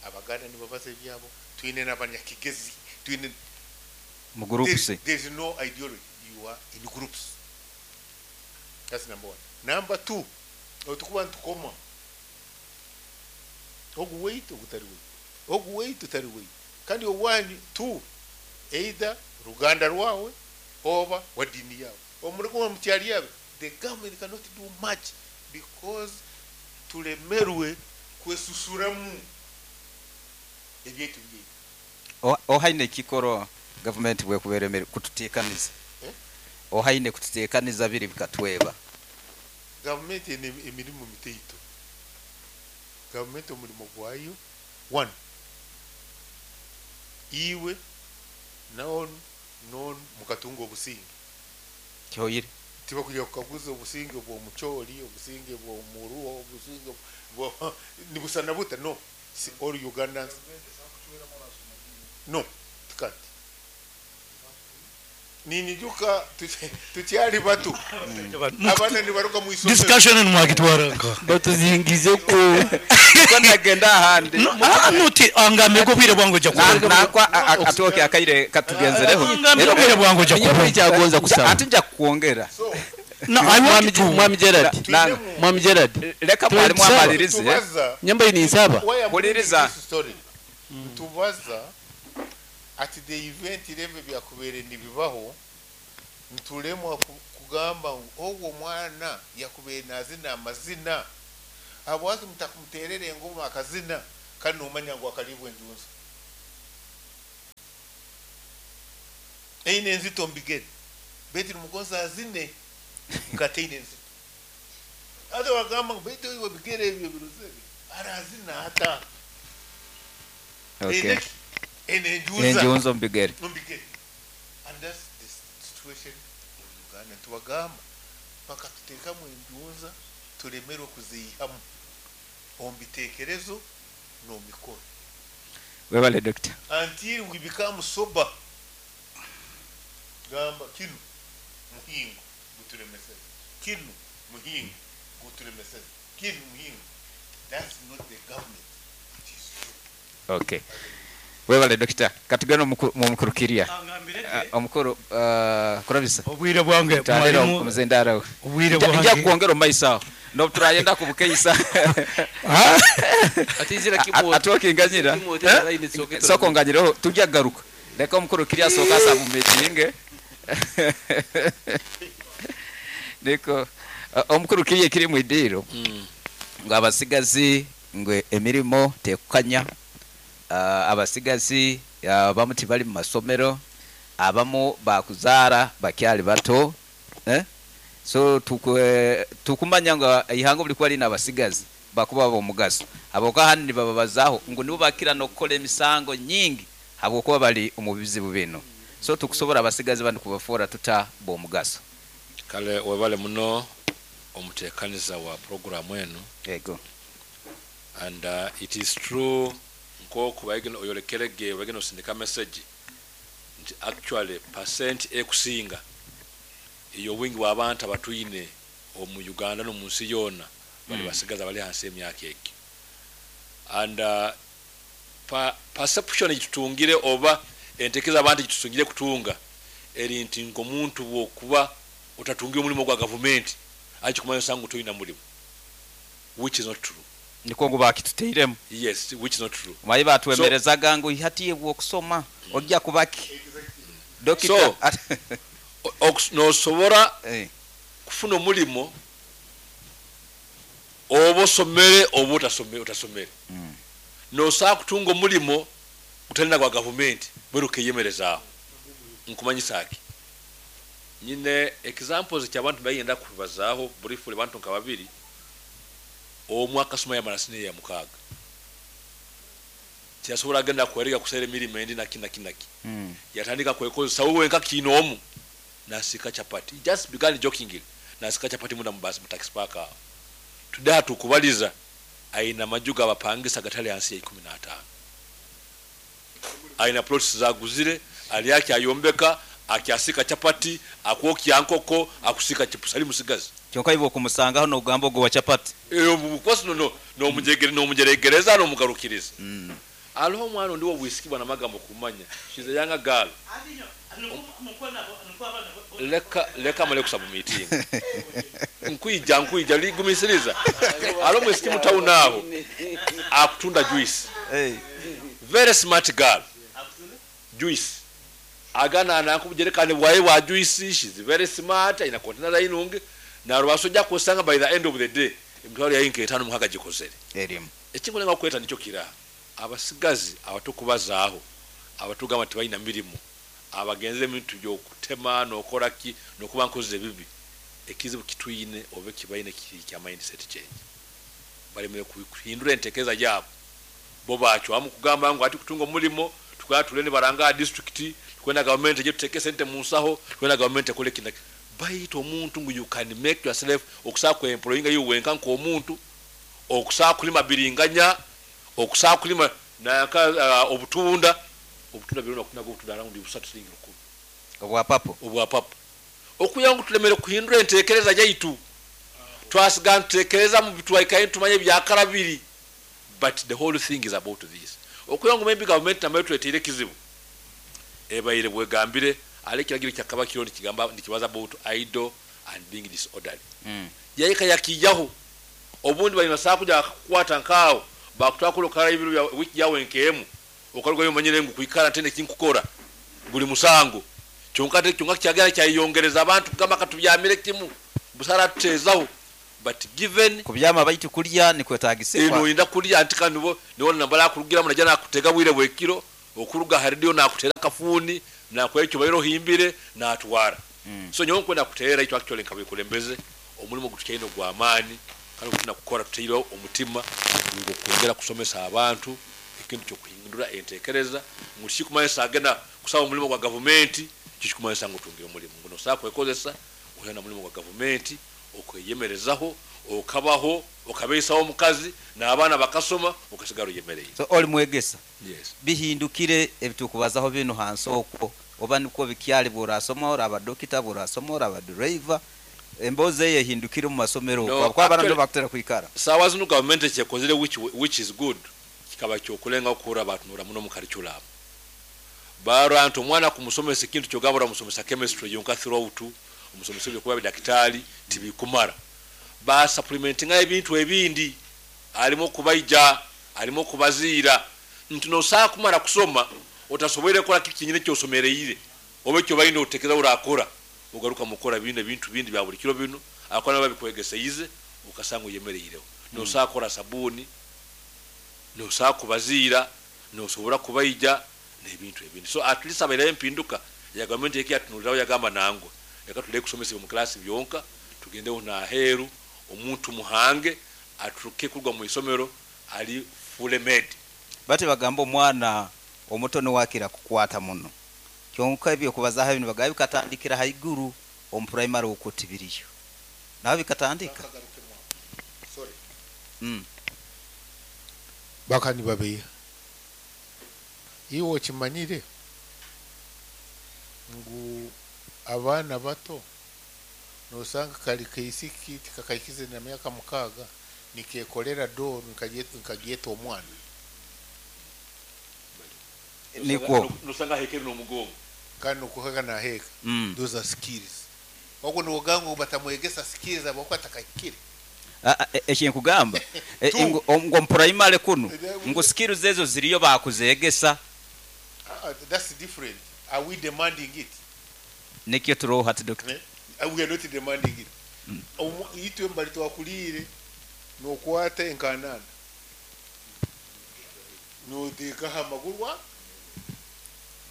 [SPEAKER 2] Abaganda nibabaza ebyabo, twine n'Abanyakigezi, twine
[SPEAKER 1] Mu groups.
[SPEAKER 2] there, there is no ideology. You are in groups. That's number one. Number two, otukuba ntukoma ogu weitu ogutari weitu, ogu weitu utari weitu, kandi owanyu two, either ruganda rwawe oba wa dini yawe omurikuba mukyali yawe. The government cannot do much because tulemerwe kwesusuramu ebyaitu byaitu.
[SPEAKER 1] O- ohaine ekikoro gavumenti bwekuberemere kututeekaniza?
[SPEAKER 2] Eh?
[SPEAKER 1] Ohaine kututeekaniza biri bikatweba?
[SPEAKER 2] Gavumenti ene emirimu mitaito. Gavumenti omurimo gwayo, one, iwe naonu nonu mukatunga obusinge.
[SPEAKER 1] Kyoyire.
[SPEAKER 2] Tibakuja kukaguza obusinge bw'omucholi, obusinge bw'omuruo, obusinge bwo nibusana buta. No, si all Ugandans. No, tukanti ninyijuka tukyali batu, abaana nibaruga mu isomero.
[SPEAKER 4] Discussion mwagitwara nka
[SPEAKER 3] Batuzingize ku
[SPEAKER 1] Ko ndagenda ahandi.
[SPEAKER 4] Ah, nuti angambe ko bwire bwangu ja
[SPEAKER 1] Na-
[SPEAKER 4] kuba.
[SPEAKER 1] Nakwa a- a- atoke akaire katugenzereho.
[SPEAKER 4] Angambe ko bwire bwangu ja kuba.
[SPEAKER 3] Ekyagonza kusaba.
[SPEAKER 1] Ate nja kukwongera.
[SPEAKER 2] So
[SPEAKER 4] No, I want to
[SPEAKER 3] Mwami Gerard,
[SPEAKER 1] Nanga.
[SPEAKER 3] Mwami Gerard,
[SPEAKER 1] Leka mwalimu
[SPEAKER 3] Tuweza.
[SPEAKER 1] amalirize.
[SPEAKER 2] Tubaza
[SPEAKER 3] nyamba ini nsaba.
[SPEAKER 2] why I'm
[SPEAKER 1] Huliriza.
[SPEAKER 2] bringing this story, ntubaza at the event level byakubeere nibibaho, ntulemwa ku- kugamba ngu ogwo omwana yakubeere nazina amazina. Habwaki mutakumuterera engoma akazina kandi nomanya ngu akalibwa enjunzi? Eine enzito mbigere beti numugonza azine nkateine enzito ate wagamba ngu baitu iwe bigere ebyo birozere arazina ata.
[SPEAKER 1] Okay.
[SPEAKER 2] Eine enjunza
[SPEAKER 1] Enjunzo mbigere.
[SPEAKER 2] Mbigere. And that's the situation in Uganda. Tubagamba bakatuteekamu enjunza tulemerwe kuziihamu omu biteekerezo n'omu mikoro.
[SPEAKER 1] Webale doctor.
[SPEAKER 2] Until we become sober. Gamba kinu muhingo guturemeseze, kinu muhingo guturemeseze, kinu muhingo. That's not the government, it is you.
[SPEAKER 1] Okay. Webale doctor. Katugenda mu mukurukiria. Omukuru uh, kurabisa.
[SPEAKER 4] Obwire bwange
[SPEAKER 1] Tandira
[SPEAKER 4] mwalimu
[SPEAKER 1] omuzendaro.
[SPEAKER 4] Obwire
[SPEAKER 1] Nja
[SPEAKER 4] bwange
[SPEAKER 1] kwongera omaiso aho. No turayenda kubukeisa.
[SPEAKER 4] Ah,
[SPEAKER 3] Atizira kimo.
[SPEAKER 1] Atwokinganyira. Soko nganyiraho tujya garuka. Leka omukuru kiria soka asa mu meeting. Niko omukuru kiriye kiri mu idiro. Ngo abasigazi ngo emirimo tekukanya. Uh, abasigazi abamu tibali mu masomero, abamu bakuzaara bakyali bato, eh? So tukwe, tukumanya ngo ihango buli kwali n'abasigazi bakuba bomugaso aboka handi nibababazaho ngo nibo bakira no kukola emisango nyingi habwokuba bali omu bizibu bino. So tukusobola abasigazi bandi kubafora tuta bomugaso.
[SPEAKER 5] Kale webale muno omuteekaniza wa programu eno.
[SPEAKER 1] Yego.
[SPEAKER 5] And uh, it is true nkoku baigeno oyolekerege bageno sindika message nti actually percent ekusinga iyo wingi w'abantu abatwine omu Uganda no mu nsi yona bali
[SPEAKER 1] Mm.
[SPEAKER 5] basigaza bali hansi emyaka egi. And uh, pa, perception gitutungire oba entekeza abantu gitutungire kutunga eri nti ng'omuntu bw'okuba otatungira omulimu gwa gavumenti akikumanya osanga toyina mulimu, which is not true.
[SPEAKER 1] Niko ngo bakituteiremu.
[SPEAKER 5] Yes, which is not true.
[SPEAKER 1] Mayi batwemerezaga ngo ihatiye bwokusoma ojja kubaki dokita.
[SPEAKER 5] So, nosobora
[SPEAKER 1] eh.
[SPEAKER 5] kufuna omulimo oba osomere oba otasome-, otasomere.
[SPEAKER 1] Mm.
[SPEAKER 5] Nosobola kutunga omulimo gutalina gwa gavumenti bweru okeyemerezaaho. Nkumanyisa ki nyine examples ky'abantu bayenda kubazaaho briefly abantu nka babiri. Omwe akasoma yamara siniya ya mukaaga tiyasobola agenda kweriga kusera emirimu endi naki naki naki.
[SPEAKER 1] Mm.
[SPEAKER 5] Yatandika kwekozesa wewe nka kino omu nasika chapati. He just began jokingly nasika chapati munda mubasi mu taxi park awo. Today tukubaliza aina majuga abapangisa gatali hansi ya ikumi na ataano. Aina plots zaguzire ali yake ayombeka akyasika chapati akwokya nkoko akusika chips ali musigazi.
[SPEAKER 1] Kyonka hivyo kumusanga hano ugamba ogwo wa chapati.
[SPEAKER 5] Eh, obukosi no, no, no mujegere, no mujeregereza, no mugarukiriza.
[SPEAKER 1] Mm.
[SPEAKER 5] Aliho omwana ondi wobwisiki bwana magambo kumanya. She's a younger girl. Leka, leka male kusaba meeting. Nkuija, nkuija, ligumisiriza. Aliho mwisiki mu town aho. Akutunda juice.
[SPEAKER 1] Hey.
[SPEAKER 5] Very smart girl. Juice. Agana anakujerekane bwaye wa juice, she's very smart, ina container layinunge. Na rwasojja kusanga by the end of the day emitwalo yayinka etaano mukaga gikozere.
[SPEAKER 1] Erimu.
[SPEAKER 5] Ekingo nga kweta nikyo kira. Abasigazi abatukubazaaho abatugamba tebalina mirimu abagenze ebintu by'okutema n'okola ki n'okuba nkoze ebibi ekizibu kituyine oba kibayine kiri kya mindset change. Balemere kuhindura entekereza yaabo bo bacwamu kugamba ngu ati kutunga omulimo tukwata tulende baranga district tukwenda government eje tuteke sente mu nsaho tukwenda government ekole kina bayita omuntu ngu you can make yourself okusaa ku employinga you wenka nk'omuntu okusaa kulima biringanya okusaa kulima naka, uh, obutunda obutunda birona kunaga obutunda around busatu silingi lukumi
[SPEAKER 1] obwa papo
[SPEAKER 5] obwa papo okuyangu tulemere kuhindura entekereza yaitu twasiga ntekereza mu bitwaikaye tumanye byakarabiri but the whole thing is about this okuyangu maybe government namayo tuleteire kizibu ebaire bwegambire ale kiragiro kyakaba kiro nikigamba nikibaza about idle and being disorderly
[SPEAKER 1] mm.
[SPEAKER 5] Yayika yakijaho obundi bali masaa kuja kukwata nkao bakutwa kala ibiro bya wiki yawe nkemu okaruga yomanyire ngu kuikara tende kinkukora guli musango kyonka te kyonka kyagala kyayongereza abantu kugamba katubyamire kimu busara tutezaho But given
[SPEAKER 1] kubyama baitu kulya nikwetagisibwa.
[SPEAKER 5] Eno inda kulya anti kandi bo niwo nambala kurugira muna jana kutega bwire bwekiro okuruga haridio na kutera kafuni na kwekyo bayiro himbire na atwara. Mm. So nyowe kwenda kutera icyo actually nkabikulembeze omulimo gutukaino gwa amani kandi kutuna kukora tutiro omutima ngo kwongera kusomesa abantu ekintu cyo kuhindura entekereza mushikumanyisa agenda kusaba omulimo gwa government kishikumanyisa ngo tungire omulimo ngo nosaka kwekozesa uhena mulimo gwa government okweyemerezaho okabaho okabesaho omukazi n'abaana bakasoma okasigara uyemereye.
[SPEAKER 1] So oli mwegesa.
[SPEAKER 5] Yes.
[SPEAKER 1] Bihindukire ebitukubazaho bino hansi okwo oba niko bikyali burasoma oraba dokita burasoma oraba driver emboze yehindukire mu masomero
[SPEAKER 5] no,
[SPEAKER 1] kwa abana ndo bakutera kwikara.
[SPEAKER 5] Sawa zino government cyekozere which which is good kikaba cyo kulenga okura abantu nura muno mu curriculum. Barantu omwana kumusomesa ekintu kyogabura musomesa chemistry yonka throughout omusomesa byo kuba dakitali tibikumara. Ba supplementinga ebintu ebindi alimo kubaija alimo kubaziira nti no saa kumara kusoma otasobwere kola kikinyine kyosomereire obe kyo bayino otekeza urakora ugaruka mukora bindi bintu bindi bya buli kiro bino akona babikwegeseize ukasanga uyemereireho. Mm. No saa kora sabuni no saa kubaziira no sobora kubaija n'ebintu ebindi. So at least abaire mpinduka ya government yeki atunuliraho yagamba nangwa reka tuleke kusomesa mu class byonka tugendeho na heru omuntu muhange aturuke kurwa mu isomero ali full made.
[SPEAKER 1] Bati bagamba omwana omutono wakira kukwata muno kyonka ebyo kubazaho ibintu bagaye bikatandikira haiguru omu primary okutibiriyo naho bikatandika.
[SPEAKER 2] Sorry.
[SPEAKER 1] Mm.
[SPEAKER 2] Bakani babeya iwo kimanyire ngu abaana bato nosanga kali kaisiki tikakaikize na myaka mukaga nikekolera door nkagyeta omwana
[SPEAKER 1] niko
[SPEAKER 5] nosanga hekeri no mugongo
[SPEAKER 2] kandi nokuheka na heka.
[SPEAKER 1] Mm.
[SPEAKER 2] Those are skills wako nogango batamwegesa skills abako atakakire
[SPEAKER 1] ekinkugamba ngo primary kuno ngo skills ezo ziriyo bakuzegesa.
[SPEAKER 2] Uh, that's different. Are we demanding it?
[SPEAKER 1] Nikyo turoho hati doctor.
[SPEAKER 2] Eh? We are not demanding it. Mm. Itwe mbali twakulire nokwata enkanana notekaho amaguru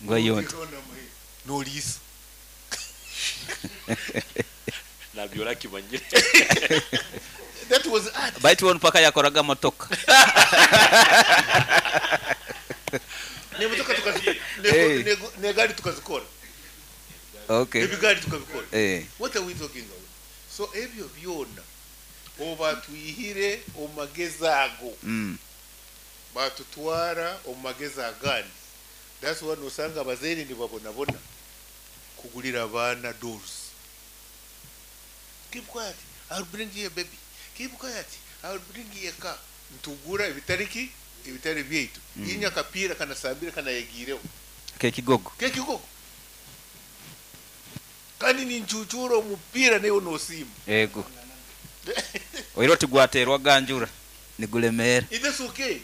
[SPEAKER 1] ngo yonte
[SPEAKER 2] nolisa
[SPEAKER 5] nabyola kimanyire.
[SPEAKER 2] That was art.
[SPEAKER 1] Baitu won paka yakoraga motoka.
[SPEAKER 2] Ne motoka tukazi ne gari tukazikora.
[SPEAKER 1] Okay.
[SPEAKER 2] Ebigari tukabikora.
[SPEAKER 1] Eh.
[SPEAKER 2] What are we talking about? So ebyo byona oba tuyihire omageza ago.
[SPEAKER 1] Mm.
[SPEAKER 2] Batutwara omageza agandi. That's why nosanga abazeire nibabonabona kugulira abaana dolls. Keep quiet. I'll bring you a baby. Keep quiet. I'll bring you a car. Ntugura ebitariki ebitari byaitu. Mm. Inya kapira kana sambira kana yegireho.
[SPEAKER 1] Kekigogo.
[SPEAKER 2] Kekigogo. Kandi ni nchuchuro omupira neyo nosima.
[SPEAKER 1] Ego. Oiro tigwaterwa ganjura nigulemera.
[SPEAKER 2] It is okay.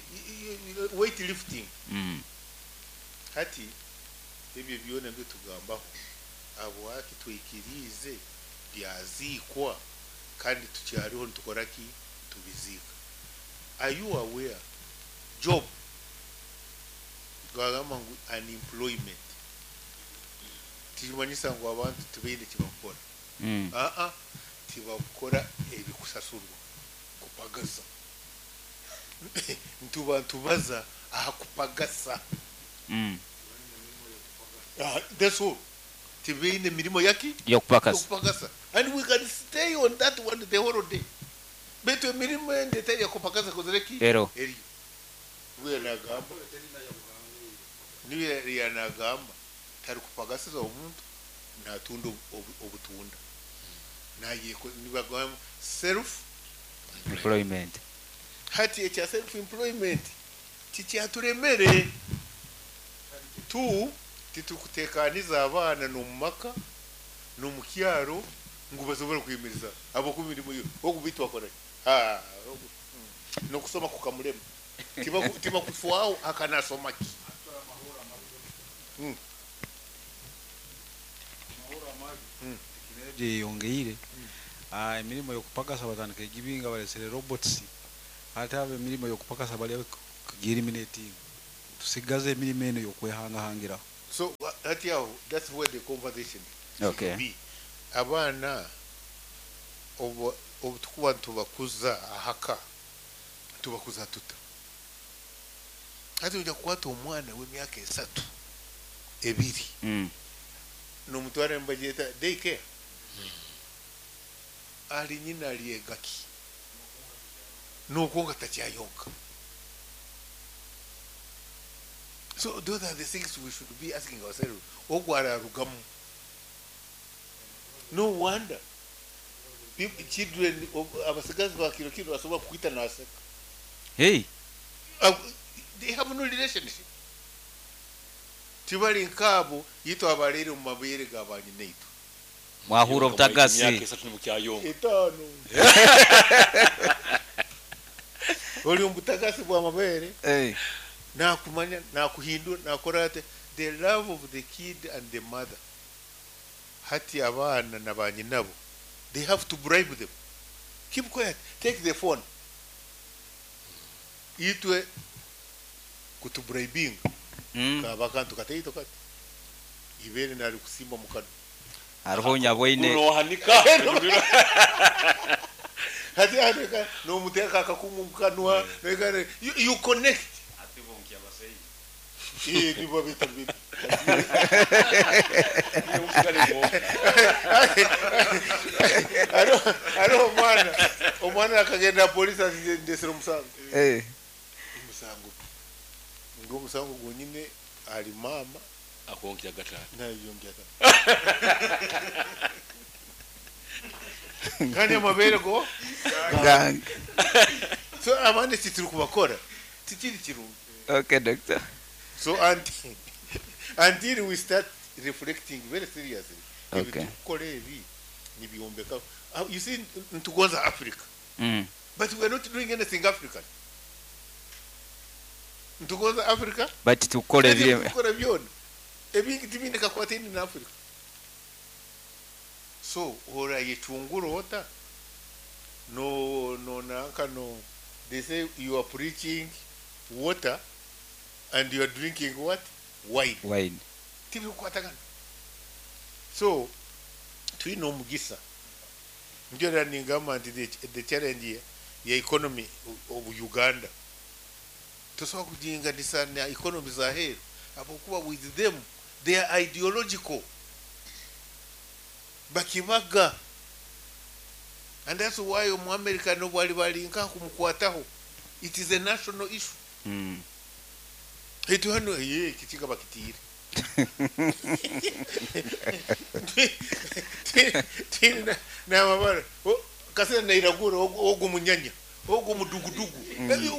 [SPEAKER 2] Weight lifting.
[SPEAKER 1] Mm.
[SPEAKER 2] Hati ebyo byona byo tugambaho abo haki twikirize byazikwa kandi tukyariho ntukora ki tubizika. Are you aware job gwagamba ngu unemployment timanyisa ngu abantu tibaine kibakora.
[SPEAKER 1] Mm.
[SPEAKER 2] Ah ah tibakora ebikusasurwa kupagasa. Ntuba ntubaza aha kupagasa.
[SPEAKER 1] Mm.
[SPEAKER 2] Ah, that's all. Tibaine mirimo yaki
[SPEAKER 1] yokupakasa.
[SPEAKER 2] Yokupakasa. And we can stay on that one the whole day. Betu emirimo ende teri yakupakasa kozereki
[SPEAKER 1] ero.
[SPEAKER 2] Eri. We nagamba. Niwe yanagamba tari kupagasa omuntu natunda obutunda. Naye nibagamba self
[SPEAKER 1] employment.
[SPEAKER 2] Hati ekya self employment kikyaturemere tu titukutekaniza abaana n'omumaka n'omukyaro ngu basobole kuyimiriza abo ku mirimu yo okubitwa akora ah n'okusoma kukamulema tiba kufwaho akanasoma ki. Mm.
[SPEAKER 3] Yongeire
[SPEAKER 6] Ah, emirimu y'okupakasa batandika egibinga balesere robots, ate abo emirimu y'okupakasa bali kugieliminating, tusigaze emirimu eno y'okwehangahangiraho.
[SPEAKER 2] So hati aho, that's where the conversation should
[SPEAKER 1] Okay.
[SPEAKER 2] be. Abaana obu obu tukuba nitubakuza ahaka, tubakuza tuta? Hati ojja kukwata omwana w'emyaka esatu, ebiri,
[SPEAKER 1] Mm.
[SPEAKER 2] nomutwara nibagyeta daycare, ali nyina alyegaki nuko nga takyayonka. So those are the things we should be asking ourselves. Ogwo ararugamu. No wonder people, children of- abasigazi ba kiro kiro basobola kukwita naseka.
[SPEAKER 1] Hey.
[SPEAKER 2] Uh, they have no relationship. Tibali nkaabo yitwa abalere mu mabeere ga banyinaitu.
[SPEAKER 1] Mwahura obutagasi.
[SPEAKER 5] Emyaka esatu nibukyayonka.
[SPEAKER 2] Etaano oli omubutagasi bwa mabeere.
[SPEAKER 1] Hey.
[SPEAKER 2] Nakumanya, nakuhindura, nakora ate. The love of the kid and the mother. Hati abaana na banyinabo, they have to bribe them. Keep quiet, take the phone. Itwe kutubribinga
[SPEAKER 1] Mm.
[SPEAKER 2] kaba kantu kataito kati ibere nali kusimba mukano.
[SPEAKER 1] Hariho nyabweine.
[SPEAKER 5] Kunohanika.
[SPEAKER 2] Hati andeka nomuteka akakumu mukanwa, nekare you, you connect. Eh, nibo bita bita. Hariho hariho omwana omwana akagenda polisi ati ndesera omusango.
[SPEAKER 1] Eh.
[SPEAKER 2] Omusango ngo omusango gwonyine ali mama
[SPEAKER 5] Akonkya gatano.
[SPEAKER 2] nayongera kandi amabere go
[SPEAKER 1] Gang.
[SPEAKER 2] so abandi tituri kubakora tikiri kirungi.
[SPEAKER 1] Okay, doctor.
[SPEAKER 2] So until, until we start reflecting very seriously,
[SPEAKER 1] Okay.
[SPEAKER 2] ebintu tukora ebi nibyombeka. Uh, you see, ntugonza Africa,
[SPEAKER 1] Mm.
[SPEAKER 2] but we are not doing anything African. Ntugonza Africa,
[SPEAKER 1] But tukora
[SPEAKER 2] ebyo
[SPEAKER 1] ebiri
[SPEAKER 2] tukora byona ebingi tibine kakwatini na Africa. So ora yechungura ota no no nanka no. They say you are preaching water and you are drinking what? Wine.
[SPEAKER 1] Wine.
[SPEAKER 2] Tibikukwatagana. So twine omugisa, nikyo era ningamba nti the, the challenge ya, ya economy of Uganda tosobola kuginganisa na economy za heru, ahabwokuba with them they are ideological, bakibaga, and that's why omu America nobwali balinka kumukwataho, it is a national issue.
[SPEAKER 1] Mm.
[SPEAKER 2] Etu hano ye kikiga bakitire n'amabara kasera nairagura ogu munyanya ogu mudugudugu.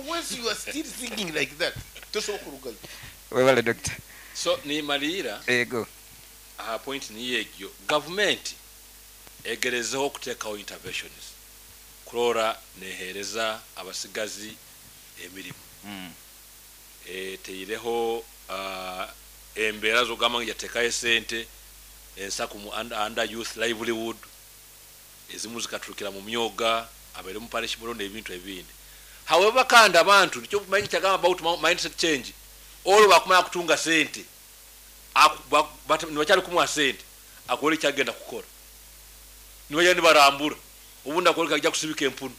[SPEAKER 2] Once you are still thinking like that, tosobola kurugayo.
[SPEAKER 1] Webale, doctor.
[SPEAKER 5] So nimalira
[SPEAKER 1] Ego.
[SPEAKER 5] Aha point niyo egyo, gavumenti egerezeho okuteekawo interventions kurora neheereza abasigazi emirimu.
[SPEAKER 1] Mm.
[SPEAKER 5] Eteireho uh, embeera zogamba ngu yateekayo esente ensaku mu under, under youth livelihood, ezimu zikaturukira mu myoga abaire mu parish murondo ebintu ebindi. However, kandi abantu nikyo manyi kyagamba about mindset change, olwo bakumanya kutunga sente nibakyali kumuha sente akole ekyagenda kukora, nibajya nibarambura obundi akole kajja kusibika empunu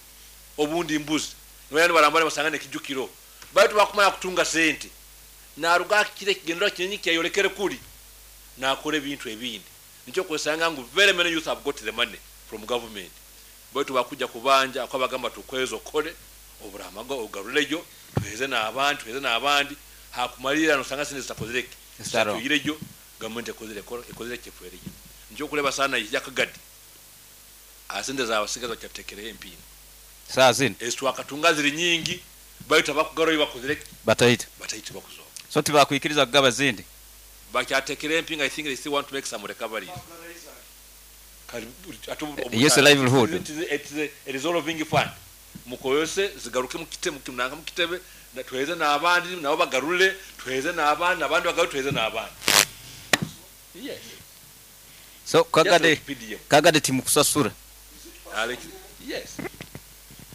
[SPEAKER 5] obundi mbuzi, nibajya nibarambura nibasanga nekijukiro baitu bakumanya kutunga sente naruga kire kigendera kinyi kyayolekere kuli nakora ebintu ebindi. Nikyo kwesanga ngu very many youth have got the money from government, baitu bakujja kubanja akabagamba tukwezo okole oburamago ogaruleyo tuheze n'abandi tuheze n'abandi hakumalira nosanga sente zitakozereke tuyireyo gavumenti ekozere ekozere kyefuereyo. Nikyo kuleba sana yakagadi asente zabasigaza bakyatekereho empinga
[SPEAKER 1] saa zino
[SPEAKER 5] ezitwakatunga ziri nyingi baitu abakugaruyo bakozereke
[SPEAKER 1] bataita
[SPEAKER 5] bataita bakuzoba.
[SPEAKER 1] So tibakwikiriza kugaba zindi
[SPEAKER 5] bakyatekera empinga. I think they still want to make some recoveries.
[SPEAKER 1] Yes, livelihood.
[SPEAKER 5] It is a, it is a, a resolving fund mukoyose zigaruke mukite mukinanga mukitebe tuheze n'abandi nabo bagarule tuheze n'abandi abandi bagarule tuheze n'abandi. Yes.
[SPEAKER 1] So kagade kagade timukusasura.
[SPEAKER 5] Alex yes.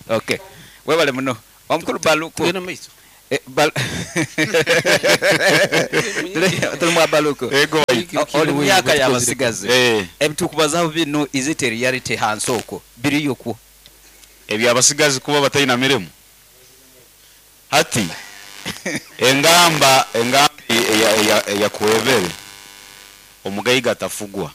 [SPEAKER 1] Okay, webale muno omukulu Baluku.
[SPEAKER 3] Tugenda mu maiso.
[SPEAKER 1] Eh, Bal- Tuli- tuli mwa Baluku.
[SPEAKER 7] Ego.
[SPEAKER 1] O- oli myaka y'abasigazi.
[SPEAKER 7] Eh.
[SPEAKER 1] Ebitukubazaho bino, is it a reality hansi okwo biriyo kwo?
[SPEAKER 7] Ebyabasigazi kuba batalina mirimu hati, engamba engamba eya- eya- eyakwebere omugaiga atafugwa.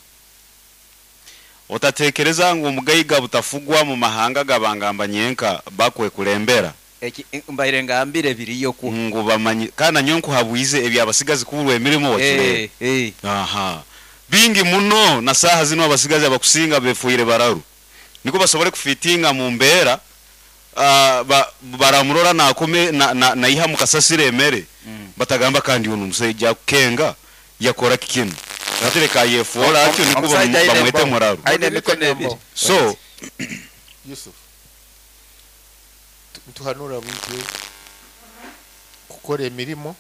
[SPEAKER 7] Otatekereza ngu omugaiga butafugwa mu mahanga gabangamba nyenka bakwekulembera.
[SPEAKER 1] Eki mbaire ngambire biriyo kwo.
[SPEAKER 7] Ngu bamanyi kandi nanyo nkuhabwize ebyabasigazi kuburwa emirimu wakirebe.
[SPEAKER 1] Eh, eh.
[SPEAKER 7] Aha, bingi muno na saha zino abasigazi abakusinga befuire bararu niko basobole kufitinga mu mbeera, uh, ba, baramurora nakome na, na, naiha mukasasire emere.
[SPEAKER 1] Mm.
[SPEAKER 7] Batagamba kandi uno omusajja akukenga yakora kikino atereka yefuola atyo niko
[SPEAKER 1] Omusajja
[SPEAKER 7] bamu-
[SPEAKER 1] aine
[SPEAKER 7] bamwete
[SPEAKER 1] embaho.
[SPEAKER 7] muraru.
[SPEAKER 1] Aine emikono ebiri.
[SPEAKER 7] So
[SPEAKER 2] Yusuf, tu- ntuhanura bwije kukora emirimo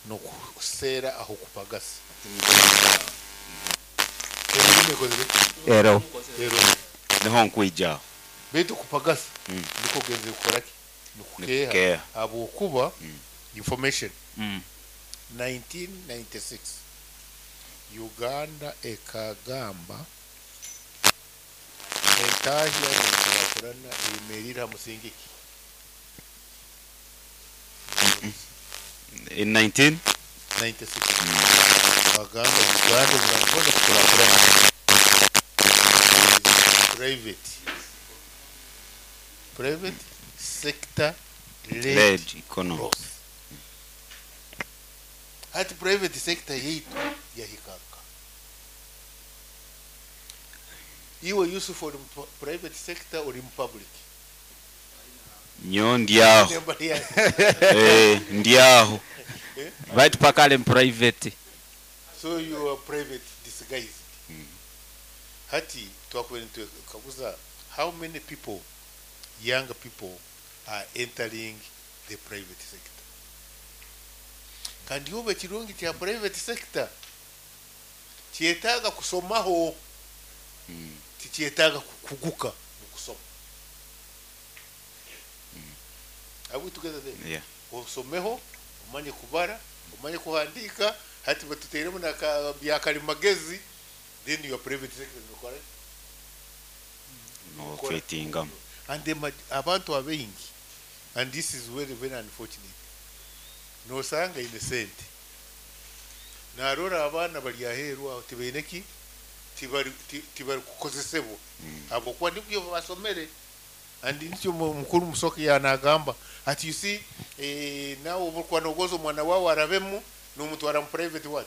[SPEAKER 2] nokuseera aho kupagasa emirimo ekozire.
[SPEAKER 1] Ero.
[SPEAKER 2] Ero.
[SPEAKER 7] Niho nkwijaho.
[SPEAKER 2] Baitu kupagasa
[SPEAKER 7] Mm.
[SPEAKER 2] niko genze kukoraki? Nikukeha.
[SPEAKER 7] Nikukeha.
[SPEAKER 2] Habwokuba information,
[SPEAKER 1] Mm.
[SPEAKER 2] nineteen ninety-six Uganda ekagamba entahya nenkurakurana eyemerire ha musingi ki?
[SPEAKER 7] In nineteen
[SPEAKER 2] ninety-six bagamba Uganda murabona kukurakurana private private sector led
[SPEAKER 7] led economy
[SPEAKER 2] growth. Hati private sector yaitu yahikaka? Iwe Yusuf, ori mu pu- private sector, ori mu public?
[SPEAKER 7] Nyo ndyaho.
[SPEAKER 2] Nemba ya-
[SPEAKER 7] Eh, ndyaho.
[SPEAKER 1] Baitu paka ali mu private.
[SPEAKER 2] So you are private disguised. Hati twakuba nitukaguza how many people, young people, are entering the private sector. Kandi yoba ekirungi kya private sector kyetaaga kusomaho, tikyetaaga kukuguka mu kusoma. Are we together there?
[SPEAKER 7] Yeah.
[SPEAKER 2] Osomeho, omanye kubara, omanye kuhandika. Hati batuteeremu naka byakalimagezi, then your private sector nokora.
[SPEAKER 7] No fitingamu.
[SPEAKER 2] And the ma- abantu abaingi, and this is very very unfortunate, nosanga ine sente narora abaana bali aheeru aho tibaine ki, tibari ti- tibari kukozesebwa habwokuba nibyo basomere. And nikyo mu- mukuru Musoke yanagamba ati, you see, eh, nawe obukuba nogoza omwana wawe arabemu nomutwara mu private what?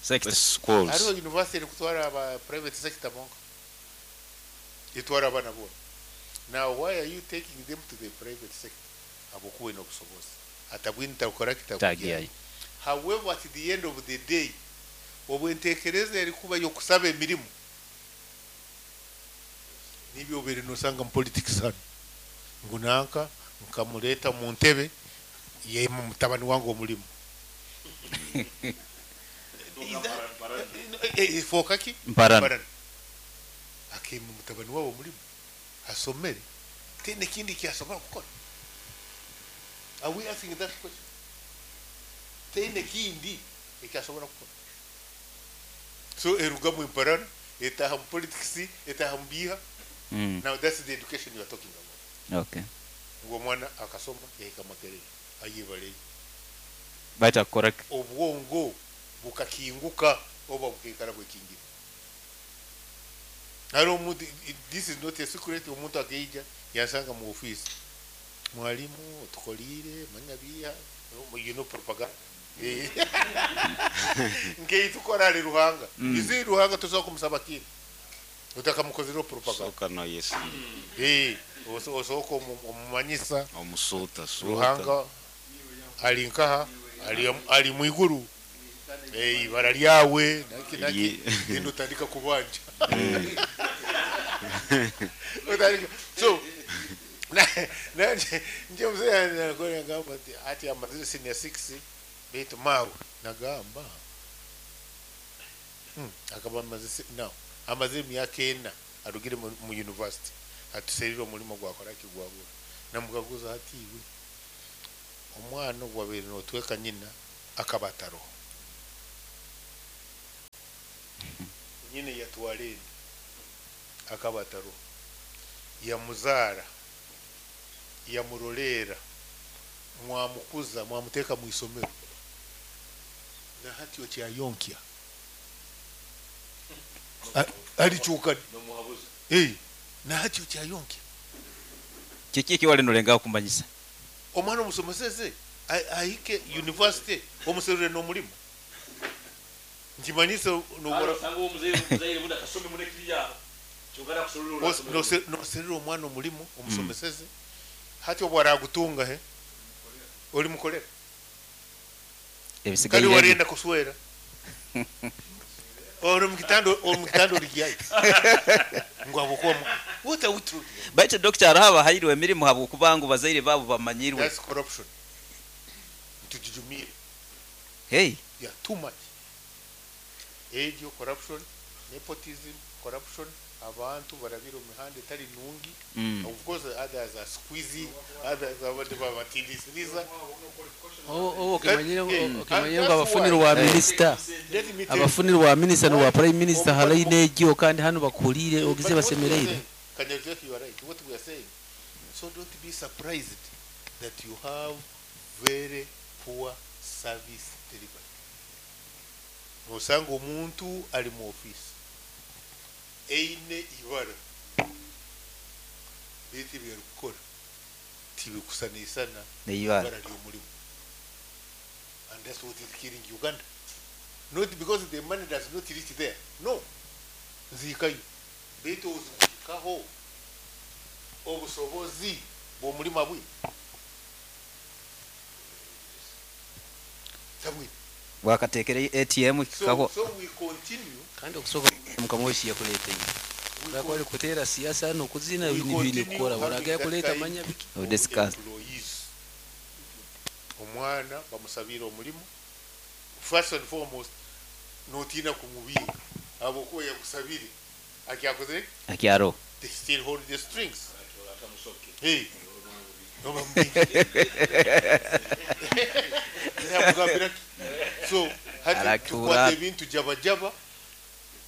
[SPEAKER 1] Sector.
[SPEAKER 7] Schools.
[SPEAKER 2] Hariho university erikutwara aba private sector bonka, etwara abaana bona. Now why are you taking them to the private sector? Habwokuba oine obusobozi atabwine takukora kitakugira.
[SPEAKER 1] Tagiyayo.
[SPEAKER 2] However, at the end of the day, obwentekereza erikuba yokusaba emirimu nibyo obere nosanga mu politics hano ngu nanka nkamuleeta mu ntebe yema mutabani wange omulimu. Is that- eh, eh, fooka ki?
[SPEAKER 1] Mparana.
[SPEAKER 2] Mparana. Akema mutabani wawe omulimu asomere tena ekindi kyasobola kukora. Are we asking that question? Tena ekindi ekyasobola kukora. So erugamu emparana etaha mu politics, etaha mu biha.
[SPEAKER 1] Mm.
[SPEAKER 2] Now that's the education you are talking about.
[SPEAKER 1] Okay.
[SPEAKER 2] Ngu omwana akasoma yahika Makerere ayebaleyo.
[SPEAKER 1] Baita kukora.
[SPEAKER 2] Obwongo bukakinguka oba bukaikara bwekingire. Hariho omuntu, this is not a secret, omuntu akaija yansanga mu office, "Mwalimu, otukolire manya biha," you know, propaganda. Eh. Nkeitukora ali Ruhanga.
[SPEAKER 1] Mm.
[SPEAKER 2] Izi Ruhanga tosobola kumusaba kintu otakamukozereho propaganda.
[SPEAKER 7] Soka no yes.
[SPEAKER 2] Eh, oso- osooka omu- omumanyisa.
[SPEAKER 7] Omusuuta suuta.
[SPEAKER 2] Ruhanga ali nkaha, ali, ali mwiguru. Eh, ibara lyawe naki naki.
[SPEAKER 7] Ye-
[SPEAKER 2] Genda otandika kubanja. Otandika. So na- nanje nje mzee anakola ngamba ati ati amazire senior six baitu mawe nagamba, Hmm, akaba amaze se- no amaze emyaka ena arugire mu, mu university. Atuserire omulimo gwakora kigwabura. Namukaguza hati iwe omwana ogwabaire notweka nyina akaba ataroho. Nyina yatwara enda akaba ataroho. Yamuzaara, yamuroleera, mwamukuza, mwamuteeka mu isomero. Na hati okyayonkya. Alikyuka. Eh, na hati okyayonkya.
[SPEAKER 1] Kiki ekiwali nolengaho kumanyisa?
[SPEAKER 2] Omwana omusomeseze ahike university omuserure n'omulimu. Nkimanyise nobora noserera omwana omulimu omusomeseze hati obwo aragutunga he oli mukolera
[SPEAKER 1] ebisigaire
[SPEAKER 2] kandi warenda kuswera ori mukitando ori mukitando origiyayo ngo abukomo. What are we talking?
[SPEAKER 1] Baitu doctor araba hairwe emirimu habo kubangu bazaire babo bamanyirwe.
[SPEAKER 2] That's corruption. Tujijumire.
[SPEAKER 1] Hey,
[SPEAKER 2] yeah, too much. Age corruption, nepotism, corruption, abantu barabira mihanda etari nungi. Mm. Of course others are squeezy, others abandi babatindiisiriza.
[SPEAKER 3] Oh, okimanyire okimanyire ngo abafuniro wa minister. Abafuniro wa minister no wa prime minister halaine egyo kandi hano bakulire ogize basemereire.
[SPEAKER 2] Kanyaruguru, you are right. What we are saying. So don't be surprised that you have very poor service delivery. Osanga omuntu ali mu office eine ibara beti byarukora tibikusanisana
[SPEAKER 1] ibara
[SPEAKER 2] ly'omulimu, and that's what is killing Uganda. Not because the money does not reach there, no, nzikayo beti ozikaho obusobozi bw'omulimu abwe sabwe
[SPEAKER 1] wakatekere A T M
[SPEAKER 2] so, so we continue
[SPEAKER 3] kandi okusoka mukamoshi yakuleta iyi bakwali kutera siasa no kuzina ibintu kukora baraga yakuleta manya biki
[SPEAKER 1] discuss
[SPEAKER 2] omwana bamusabira omulimu first and foremost notina kumubinga abo ko yakusabire akyakoze
[SPEAKER 1] akyaro
[SPEAKER 2] they still hold the strings hey no bamubinga so hati tukwata ebintu jaba jaba,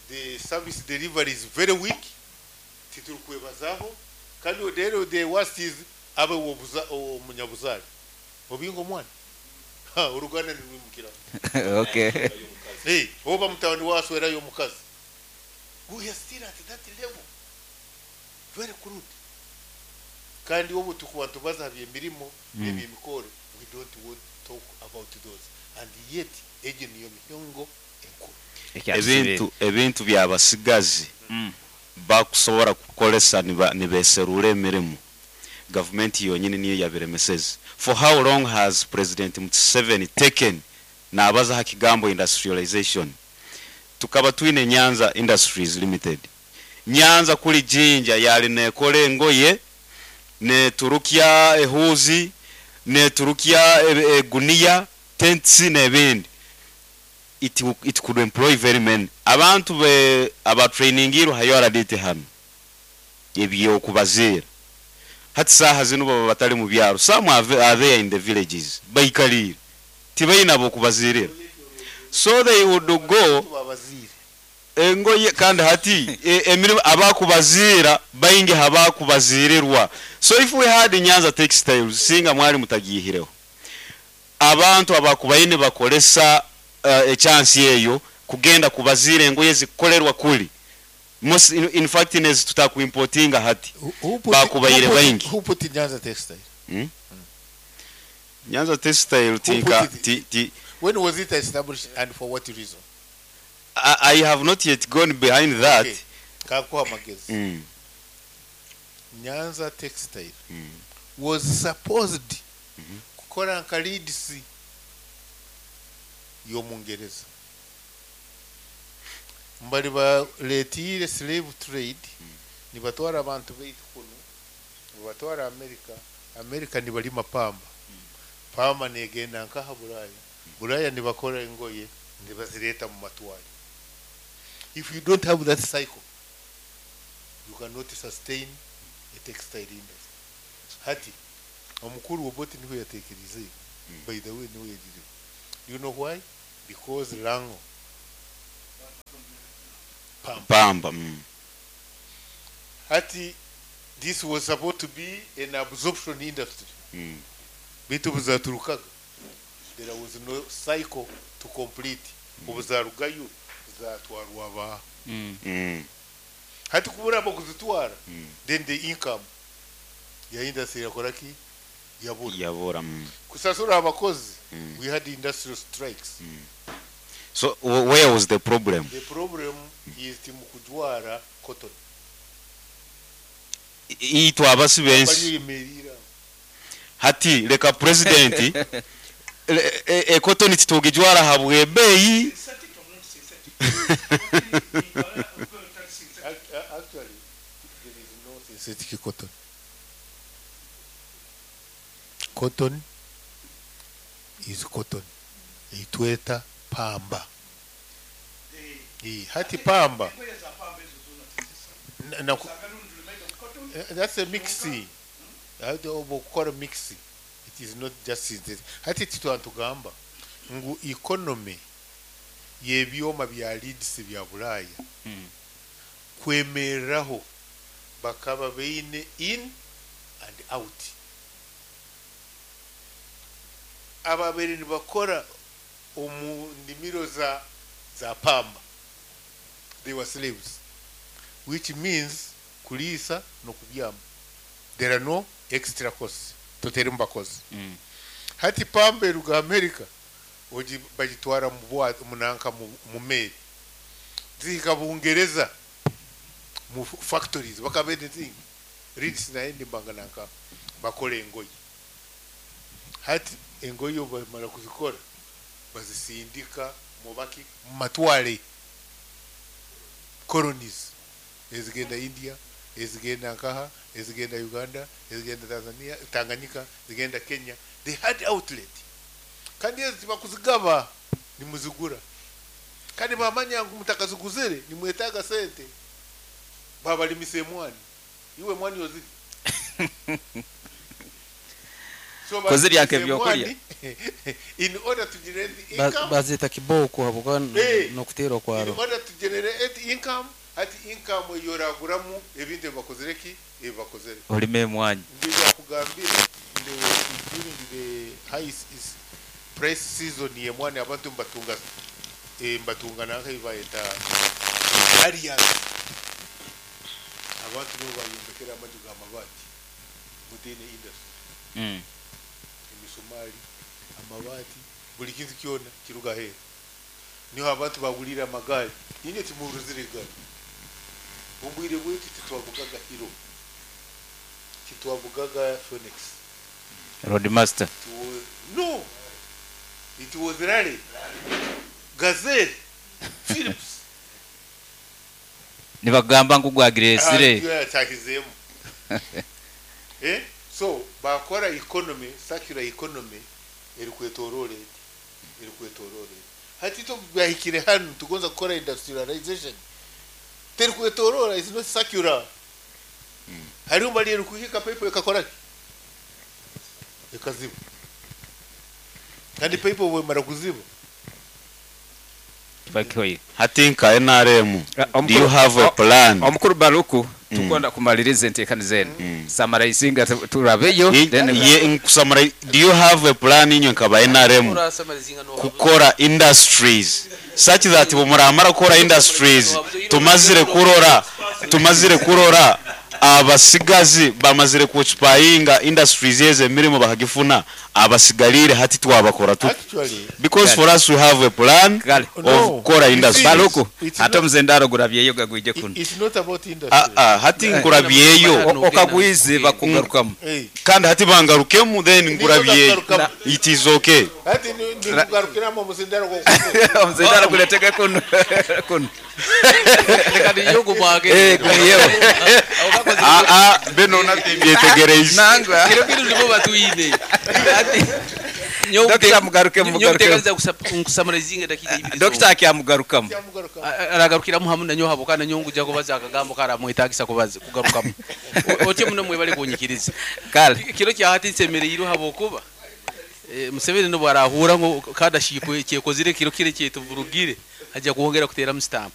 [SPEAKER 2] the service delivery is very weak. Titurukwebazaho kandi rero the worst is abe wobuza omunyabuzali obingo omwana ha uruganda nirwimukira.
[SPEAKER 1] Okay,
[SPEAKER 2] hey oba mutawani waswera yo mukazi, we are still at that level, very crude. Kandi obu tukubantu bazahabye emirimo n'emikoro, we don't want to talk about those, and yet ejo niyo mihongo enkuru
[SPEAKER 7] ebintu ebintu byabasigazi mm. bakusobora kukolesa nibeserura emirimu government yonyini niyo yabiremeseze. For how long has President Museveni taken nabaza hakigambo industrialization? Tukaba twine Nyanza Industries Limited. Nyanza kuli Jinja yali nekole engoye ne Turukia ehuzi ne Turukia egunia tents n'ebindi. It, it could employ very many abantu be aba trainingiru hayo aradite hano ebyo kubazira hati saha zino baba batali mu byaro, some are there in the villages baikalire tibayina bo kubazirira, so they would go engoye kandi hati emirimu abakubazira bayingi habakubazirirwa. So if we had Nyanza Textiles singa mwali mutagihireho abantu abakubayine bakolesa uh, echansi eyo kugenda kubazira engoye zikolerwa kuli most in, in fact nezi tutakuimportinga hati bakubayire bayingi.
[SPEAKER 2] Who put in Nyanza Textile?
[SPEAKER 7] Hmm? Mm. Nyanza Textile tinka ti, ti
[SPEAKER 2] when was it established and for what reason?
[SPEAKER 7] I, I have not yet gone behind that.
[SPEAKER 2] Okay. Kakuha magezi.
[SPEAKER 7] Mm.
[SPEAKER 2] Nyanza Textile
[SPEAKER 7] mm.
[SPEAKER 2] was supposed
[SPEAKER 7] mm -hmm.
[SPEAKER 2] kukora nka Leeds y'omungereza mbali baletire slave trade mm. nibatwara abantu baitu kuno nibatwara America. America nibalima pamba mm. pamba negenda nkaha Bulaya mm. Bulaya nibakora engoye nibazireta mu matwari. If you don't have that cycle you cannot sustain a textile industry. Hati omukuru Obote niwe yateekerize, by the way niwe yagire. Do you know why? Because Lango Pamba.
[SPEAKER 7] Pamba mm.
[SPEAKER 2] Hati this was supposed to be an absorption industry.
[SPEAKER 7] Mm.
[SPEAKER 2] Bitu buzaturukaga, there was no cycle to complete. Obuzarugayo zatwarwa ba
[SPEAKER 1] Mm.
[SPEAKER 7] Mm.
[SPEAKER 2] hati kubura abo kuzitwara,
[SPEAKER 7] Mm.
[SPEAKER 2] then the income ya industry yakora ki? Yabura.
[SPEAKER 7] Yabura mm.
[SPEAKER 2] Kusasura abakozi.
[SPEAKER 7] Mm.
[SPEAKER 2] We had industrial strikes.
[SPEAKER 7] So wh- where was the problem?
[SPEAKER 2] The problem is timukujwara cotton.
[SPEAKER 7] I- itwe abasi bensi
[SPEAKER 2] Bariyemerera.
[SPEAKER 7] Hati leka president le- e- e cotton titugijwara habwe beyi.
[SPEAKER 2] Act- a- actually there is no synthetic cotton. Cotton is cotton, itweta pamba. Eh, hati pamba Na- na- Eh, that's a mixing. Hati obukora mixing, it is not just synthetic. Hati titwantugamba ngu economy y'ebyoma bya Leeds bya Bulaya
[SPEAKER 1] Mm.
[SPEAKER 2] kwemereraho bakaba beine in and out. Ababere nibakora omu ndimiro za za pamba, they were slaves, which means kuliisa nokubyama. There are no extra costs, totere mu bakozi.
[SPEAKER 1] Mm.
[SPEAKER 2] Hati pamba eruga America, ogi bagitwara mu bwato munanka mu mu meri, zihika Bungereza mu factories, bakabene zingi Leeds naye ndimbanga nanka bakora engoyi. Hati engoyi bamara kuzikora bazisindika mu baki mu matwale colonies, ezigenda India, ezigenda nkaha, ezigenda Uganda, ezigenda Tanzania, Tanganyika, ezigenda Kenya. They had outlet. Kandi ezi bakuzigaba nimuzigura, kandi bamanya ngu mutakaziguzire nimwetaaga sente. Babalimisa emwani, iwe mwani oziri. So
[SPEAKER 1] Kuzirya
[SPEAKER 2] balimisa
[SPEAKER 1] nk'ebyokurya.
[SPEAKER 2] emwani in order to generate
[SPEAKER 3] Ba-
[SPEAKER 2] income.
[SPEAKER 3] bazita kiboko habwokuba
[SPEAKER 2] Eh.
[SPEAKER 3] nokuteerwa
[SPEAKER 2] In
[SPEAKER 3] kwaro.
[SPEAKER 2] order to generate income, hati income eyoraguramu ebintu ebibakozere ki ebibakozere.
[SPEAKER 1] Olime emwanyi.
[SPEAKER 2] Ndibakugambire during the high s- is- price season yemwani, abantu mbatunga eh, mbatunga nanka bayeta arias. Abantu nibo bayombekera amaju g'amabaati mutine industry.
[SPEAKER 1] Mm.
[SPEAKER 2] Emisumari, amabaati, buli kintu kyona kiruga heru. Niho abantu bagulira amagaari. Nyine timuruzire egari obwire bwaitu titwavugaga Hero, titwavugaga Phoenix.
[SPEAKER 1] Roadmaster.
[SPEAKER 2] It was, no, it was Rally, Gazelle, Philips.
[SPEAKER 1] Nibagamba ngu gwagiresire.
[SPEAKER 2] Yatakizemu. Eh, so bakora economy, circular economy erikwetoroora eti erikwetoroora eti. Hati to byahikire hanu tugonza kukora industrialization, terikwetoroora, is not circular. Hariho bali erikuhika paper ekakora ki? Ekaziba. Kandi paper bwemara kuziba
[SPEAKER 1] Bakihoye.
[SPEAKER 7] Hati nka N R M,
[SPEAKER 1] Ah,
[SPEAKER 7] do you have a plan?
[SPEAKER 1] Omukuru Baruku, tukwenda kumaliriza enteekaniza zenu. Samarayizinga tu- turabeyo
[SPEAKER 7] I-
[SPEAKER 1] then
[SPEAKER 7] ye nkusamara, do you have a plan inywe nkaba N R M kukora industries such that bwemuramara kukora industries, tumazire kurora tumazire kurora abasigazi bamazire kuoccupyinga industries ezo, emirimu bakagifuna, abasigalire hati twabakora tuti?
[SPEAKER 2] Actually
[SPEAKER 7] Because for us we have a plan
[SPEAKER 1] Kale.
[SPEAKER 7] of
[SPEAKER 2] No.
[SPEAKER 7] kukora industries.
[SPEAKER 1] Baruku,
[SPEAKER 2] It's
[SPEAKER 1] ate
[SPEAKER 2] not-
[SPEAKER 1] omuzendaro gurabyeyo gagwije kuno.
[SPEAKER 2] It's not about industry.
[SPEAKER 7] Ah, ah, hati nkurabyeyo.
[SPEAKER 1] O- okagwize bakugarukamu.
[SPEAKER 2] Hey.
[SPEAKER 7] Kandi hati bangarukemu, then nkurabyeyo, it is okay.
[SPEAKER 2] Hati nikugarukiramu omusindano gwo
[SPEAKER 1] Omuzendaro guletege kuno kuno.
[SPEAKER 3] Reka niyo gumwage.
[SPEAKER 1] Eh, gumiyeho.
[SPEAKER 7] Ah, ah, beno nattembyetegereize.
[SPEAKER 1] Nangwa.
[SPEAKER 3] Kiro kintu nibo batwine. Ati
[SPEAKER 1] Dokita, mugaruke, mugaruke.
[SPEAKER 3] Nkusamarizinga dakika ibiri.
[SPEAKER 1] Dokita akyamugarukamu.
[SPEAKER 2] Kyamugarukamu.
[SPEAKER 3] Aragarukiramu hamu nanyo habo kandi nanyo nguja kubaza akagambo karamwetagisa kubaza kugarukamu. O- otyo muno mwebale kunyikiriza.
[SPEAKER 1] Kale.
[SPEAKER 3] Kiro kyahati nsemereirwe habwokuba eh, Museveni nobwo arahura ngo kadashipo kyekozire kiro kire kyetuvurugire, ajja kwongera kuteeramu stamp.